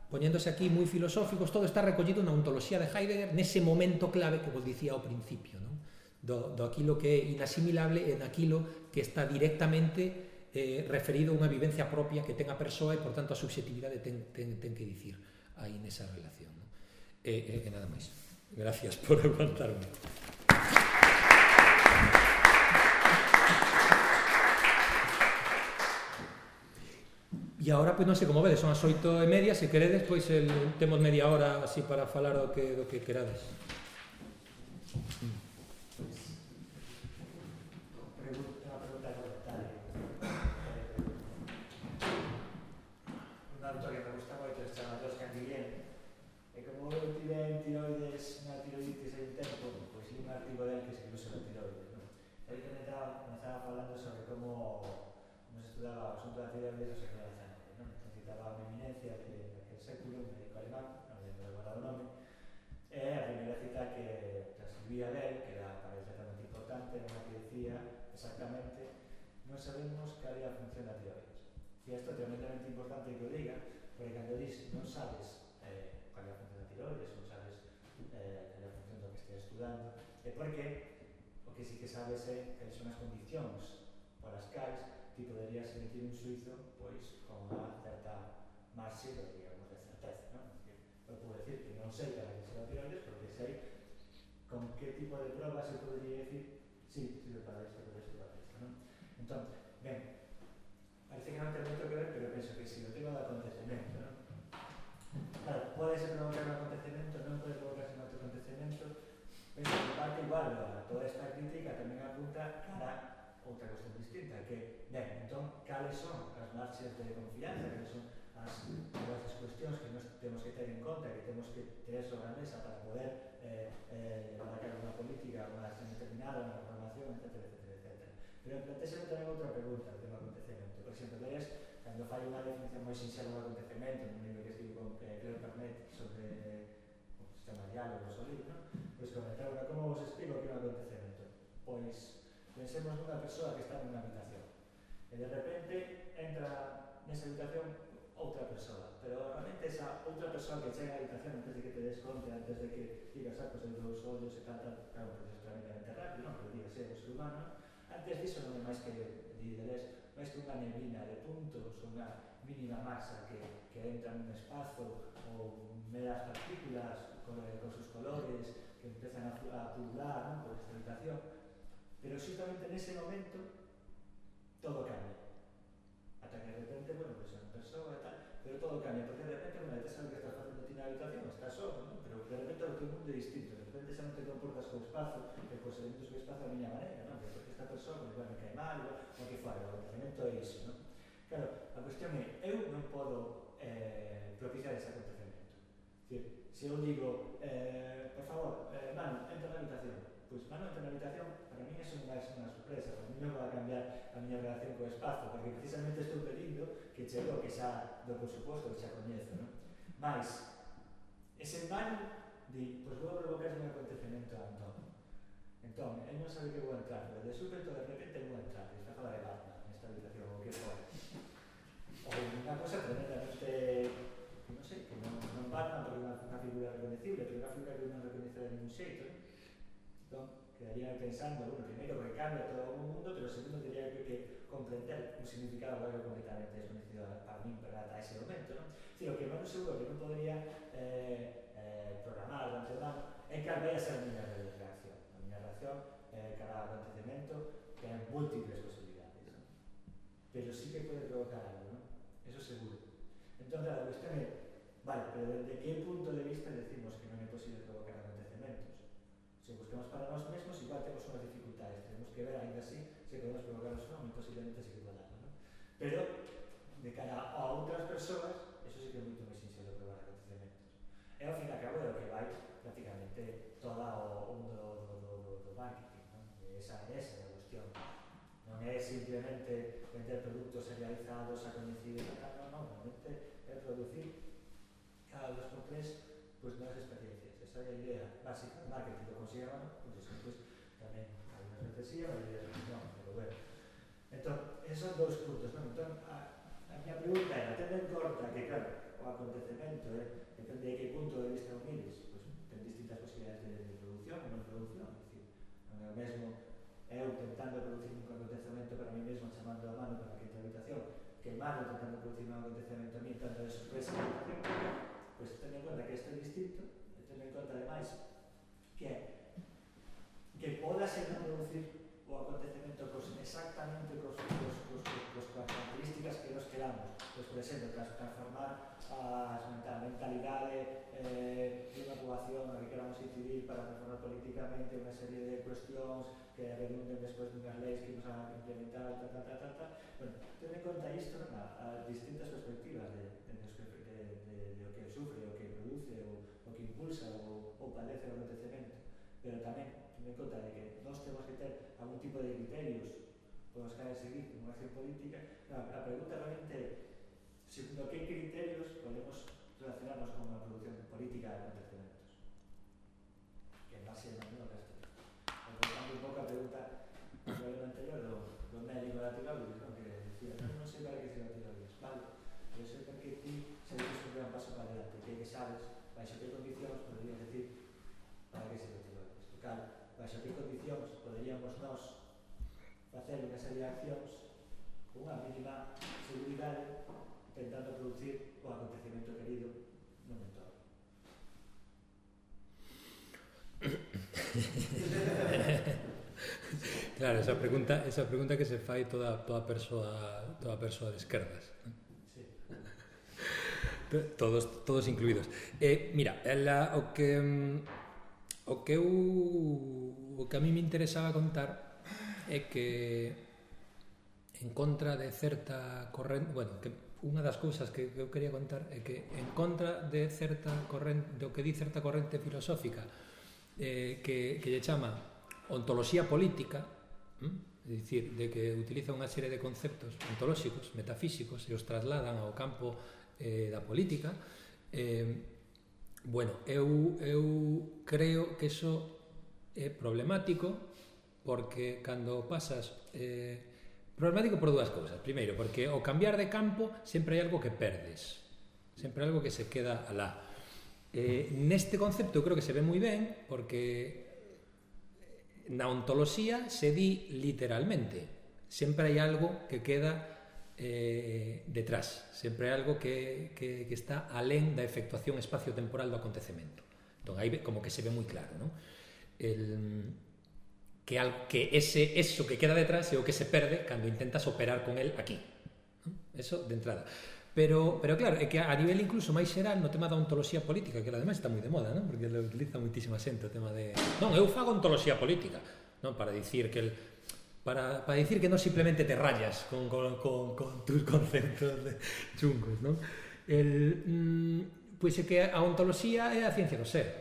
poñéndose aquí moi filosóficos, todo está recollido na ontoloxía de Heidegger nese momento clave que vos dicía ao principio, non? Do, do aquilo que é inasimilable e naquilo que está directamente eh, referido a unha vivencia propia que ten a persoa e, por tanto, a subxectividade ten, ten, ten que dicir aí nesa relación, non? E, e, e nada máis. Gracias por aguantarme. E agora, pois non sei como vedes, son as oito e media, se queredes, pois el, temos media hora así para falar do que, do que querades. Pregunta, pregunta dale. Un autor que me gusta moito se chama Toscan Guillén, e como eu tive en tiroides na teoría do século dezanove, non? Entón, citaba unha eminencia de aquel século, un médico alemán, non lembro agora o nome, e a primeira cita que transcribía del, que era parece realmente importante, era unha que decía exactamente: non sabemos cal é a función da tiroides. E isto é tremendamente importante que o diga, porque cando dis non sabes eh, cal é a función da tiroides, non sabes eh, cal é a función do que estés estudando, é porque o que sí que sabes é que son as condicións polas cais ti poderías emitir un suizo pois con unha certa marxe de, digamos, de certeza, non? Eu podo decir que non sei cal é a función da tiroides porque sei con que tipo de probas se podría decir sí, sirve para isto, para isto, para isto, non? Entón, ben, parece que non ten moito que ver, pero penso que si o tema do acontecemento, non? Claro, pode ser provocar un acontecemento, non pode provocarse un outro acontecemento, penso que parte igual a toda esta crítica tamén apunta cara a outra cuestión distinta, que, ben, entón, cales son as marxes de confianza, cales son as, as cuestións que nos temos que ter en conta, que temos que ter sobre a mesa para poder eh, eh, levar a cabo unha política, unha acción determinada, unha programación, etcétera, etcétera, etcétera. Pero plantéxame tamén outra pregunta do tema acontecemento. Por exemplo, lees, cando fai unha definición moi sinxela do acontecemento, nun libro que estive con eh, Claire Pernet sobre o sistema diálogos o libro, non? Pois comentaba, como vos explico que é un acontecemento? Pois pensemos nunha persoa que está nunha habitación e de repente entra nesa habitación outra persoa, pero realmente esa outra persoa que chega á habitación antes de que te des conta, antes de que digas, ah, pues, os dous ollos e tal, tal, claro, un proceso tremendamente rápido, non? Pero digas, é un ser humano, antes disso non é máis que líderes, máis que unha neblina de puntos, unha mínima masa que, que entra nun espazo ou meras partículas con, con sus colores que empezan a, a pulular, non? Por esta habitación, pero justamente nese momento todo cambia. Ata que de repente, bueno, pues é unha persoa e tal, pero todo cambia, porque de repente, bueno, te sabes que estás facendo ti na habitación, estás só, ¿no? Pero de repente o teu mundo é distinto, de repente xa non te comportas co espazo, e cos elementos co espazo a miña maneira, ¿no? Porque esta persoa, pues, igual me cae mal, o que fora, o acontecemento é iso, ¿no? Claro, a cuestión é, eu non podo eh, propiciar ese acontecemento. Es decir, se eu digo, eh, por favor, eh, Manu, entra na habitación, pois Manu entra na habitación, para mí eso non vai ser unha sorpresa, para mí non vai cambiar a miña relación co espazo, porque precisamente estou pedindo que chego que xa do por suposto que xa coñezo, non? Mais, ese Manu di, pois vou provocar un acontecemento a Antón. Entón, él non sabe que vou entrar, pero de súpeto, de repente, vou entrar, e está a falar de Batman nesta habitación, ou que for. Ou unha cosa tremendamente, non sei, que non, non Batman, porque é unha, unha figura reconocible, pero unha figura que non reconoce de ningún xeito, ¿no? Entón, quedaría pensando, bueno, primeiro que cambia todo o mundo, pero segundo teria que, que comprender un significado algo completamente desconocido para mí, para ata ese momento, ¿no? Es decir, o que non seguro que non podría eh, eh, programar de antemano é que vai a ser a miña reacción. A miña reacción eh, cada acontecemento ten múltiples posibilidades, ¿no? Pero sí que pode provocar algo, ¿no? Eso seguro. Entón, claro, a cuestión é, vale, pero desde que punto de vista decimos que non é posible provocar acontecementos? Se buscamos para nós mesmos, igual temos unhas dificultades, tenemos que ver ainda así se podemos provocarlos ou non, posiblemente sí que podamos, ¿no? Pero, de cara a outras persoas, eso sí que é moito máis sinxelo probar acontecementos. E ao fin e a cabo é o que vai prácticamente todo o mundo do, do, do, do marketing, ¿no? Esa, esa é a cuestión. Non é simplemente vender produtos serializados a coñecidos e tal, non, non, realmente é producir cada dos por tres pues, novas experiencias. Esa é a idea básica do marketing, lo consigamos, pues eso, pues, tamén algunas veces sí, a maioría veces non, pero bueno. Entón, esos son dous puntos, non? Entón, a, a miña pregunta era, tendo en conta que, claro, o acontecemento, eh, depende de que punto de vista o mires, pues, ten distintas posibilidades de, de producción e non producción, é dicir, non é o mesmo eu tentando producir un acontecemento para mí mesmo, chamando a mano para que entre a habitación, que Manu tentando producir un acontecemento a mí, tanto de sorpresa na habitación, pois pues, ten en conta que isto é distinto, e ten en conta, ademais, que que podase non producir o acontecemento cos, exactamente cos, cos, cos, cos, cos características que nos queramos. Pois, por exemplo, transformar a mentalidade eh, de unha poboación a que queramos incidir para transformar políticamente unha serie de cuestións que redunden despois dunhas leis que nos van a implementar, ta, ta, ta, ta, ta. Bueno, ten en conta isto, non? A, a distintas perspectivas de, de, de, de, de, de o que sufre, o que produce, o, o que impulsa, o, o padece o acontecemento. Pero tamén ten en conta de que nós temos que ter algún tipo de criterios podemos caer en seguir unha acción política. A, a pregunta realmente é segundo que criterios podemos relacionarnos con a producción política de acontecementos, que en base a no resto. Voltando un pouco a pregunta do problema anterior do, do médico da tiroides, non? Que decía, non, non sei para que se da tiroides, vale, pero sei porque ti se dices un gran paso para adelante, que que sabes, baixo que condicións poderías decir para que se da tiroides. E claro, baixo que condicións poderíamos nós facer unha serie de accións con unha mínima seguridade intentando producir o acontecemento querido no entorno. Claro, esa pregunta, esa pregunta que se fai toda toda persoa, toda persoa de esquerdas. Sí. Todos todos incluídos. Eh, mira, la, o que o que eu o que a mí me interesaba contar é que en contra de certa corrente, bueno, que unha das cousas que eu quería contar é que en contra de certa corrente, do que di certa corrente filosófica eh, que, que lle chama ontoloxía política, hm? É dicir, de que utiliza unha serie de conceptos ontolóxicos, metafísicos, e os trasladan ao campo eh, da política, eh, bueno, eu, eu creo que iso é problemático porque cando pasas... Eh, problemático por dúas cousas. Primeiro, porque ao cambiar de campo sempre hai algo que perdes, sempre hai algo que se queda alá. Eh, neste concepto eu creo que se ve moi ben porque na ontoloxía se di literalmente, sempre hai algo que queda eh, detrás, sempre hai algo que, que, que está alén da efectuación espacio-temporal do acontecemento. Entón, aí como que se ve moi claro, non? El... que, al, que ese eso que queda detrás é o que se perde cando intentas operar con el aquí. Eso de entrada. Pero, pero claro, é que a nivel incluso máis xeral no tema da ontoloxía política, que ademais está moi de moda, non? Porque lo utiliza moitísima xente o tema de... Non, eu fago ontoloxía política, non? Para dicir que el... Para, para dicir que non simplemente te rayas con, con, con, con tus conceptos de chungos, non? El, mm, pois é que a ontoloxía é a ciencia do ser.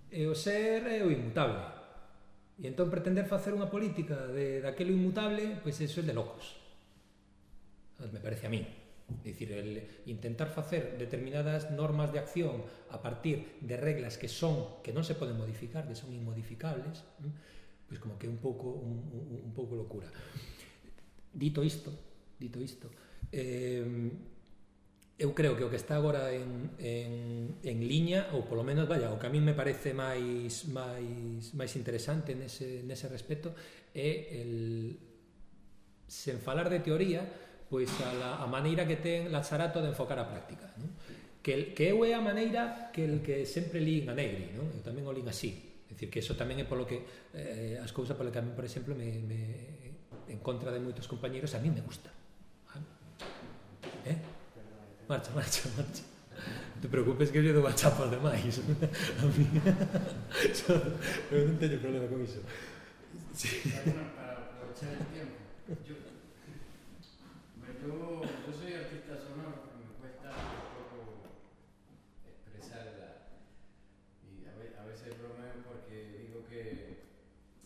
E o ser é o inmutable. E entón pretender facer unha política de daquelo inmutable, pois eso é de locos. Me parece a mí. É dicir, el intentar facer determinadas normas de acción a partir de reglas que son que non se poden modificar, que son inmodificables, pois como que é un pouco un, un, un pouco locura. Dito isto, dito isto, eh, eu creo que o que está agora en, en, en liña, ou polo menos, vaya, o que a mí me parece máis máis, máis interesante nese, nese respecto é el, sen falar de teoría, pois a, la, a maneira que ten Lazzarato de enfocar a práctica, non? Que, el, que eu é a maneira que el que sempre lín a Negri, non? Eu tamén o lín así, é dicir, que eso tamén é polo que eh, as cousas polo que a mí, por exemplo, me, me, en contra de moitos compañeros, a mí me gusta, ¿vale? Eh? Marcha, marcha, marcha. Non te preocupes que eu lle dou a chapa demais. A mí... Eu non teño problema con iso. Sí. Para aprovechar el tiempo. Yo, yo, yo soy artista sonoro, me cuesta un poco expresar la... Y a veces, a veces bromeo porque digo que,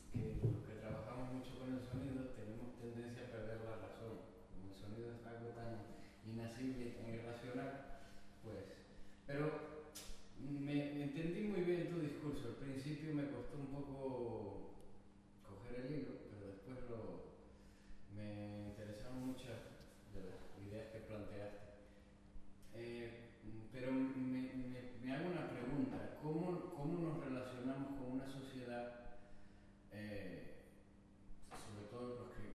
que los que trabajamos mucho con el sonido tenemos tendencia a perder la razón. Como el sonido es algo tan inasible, tan irracional, pues... Pero me, me entendí muy bien tu discurso. Al principio me costó un poco coger el hilo, pero después lo, me interesaron muchas de las ideas que planteaste. Eh, pero me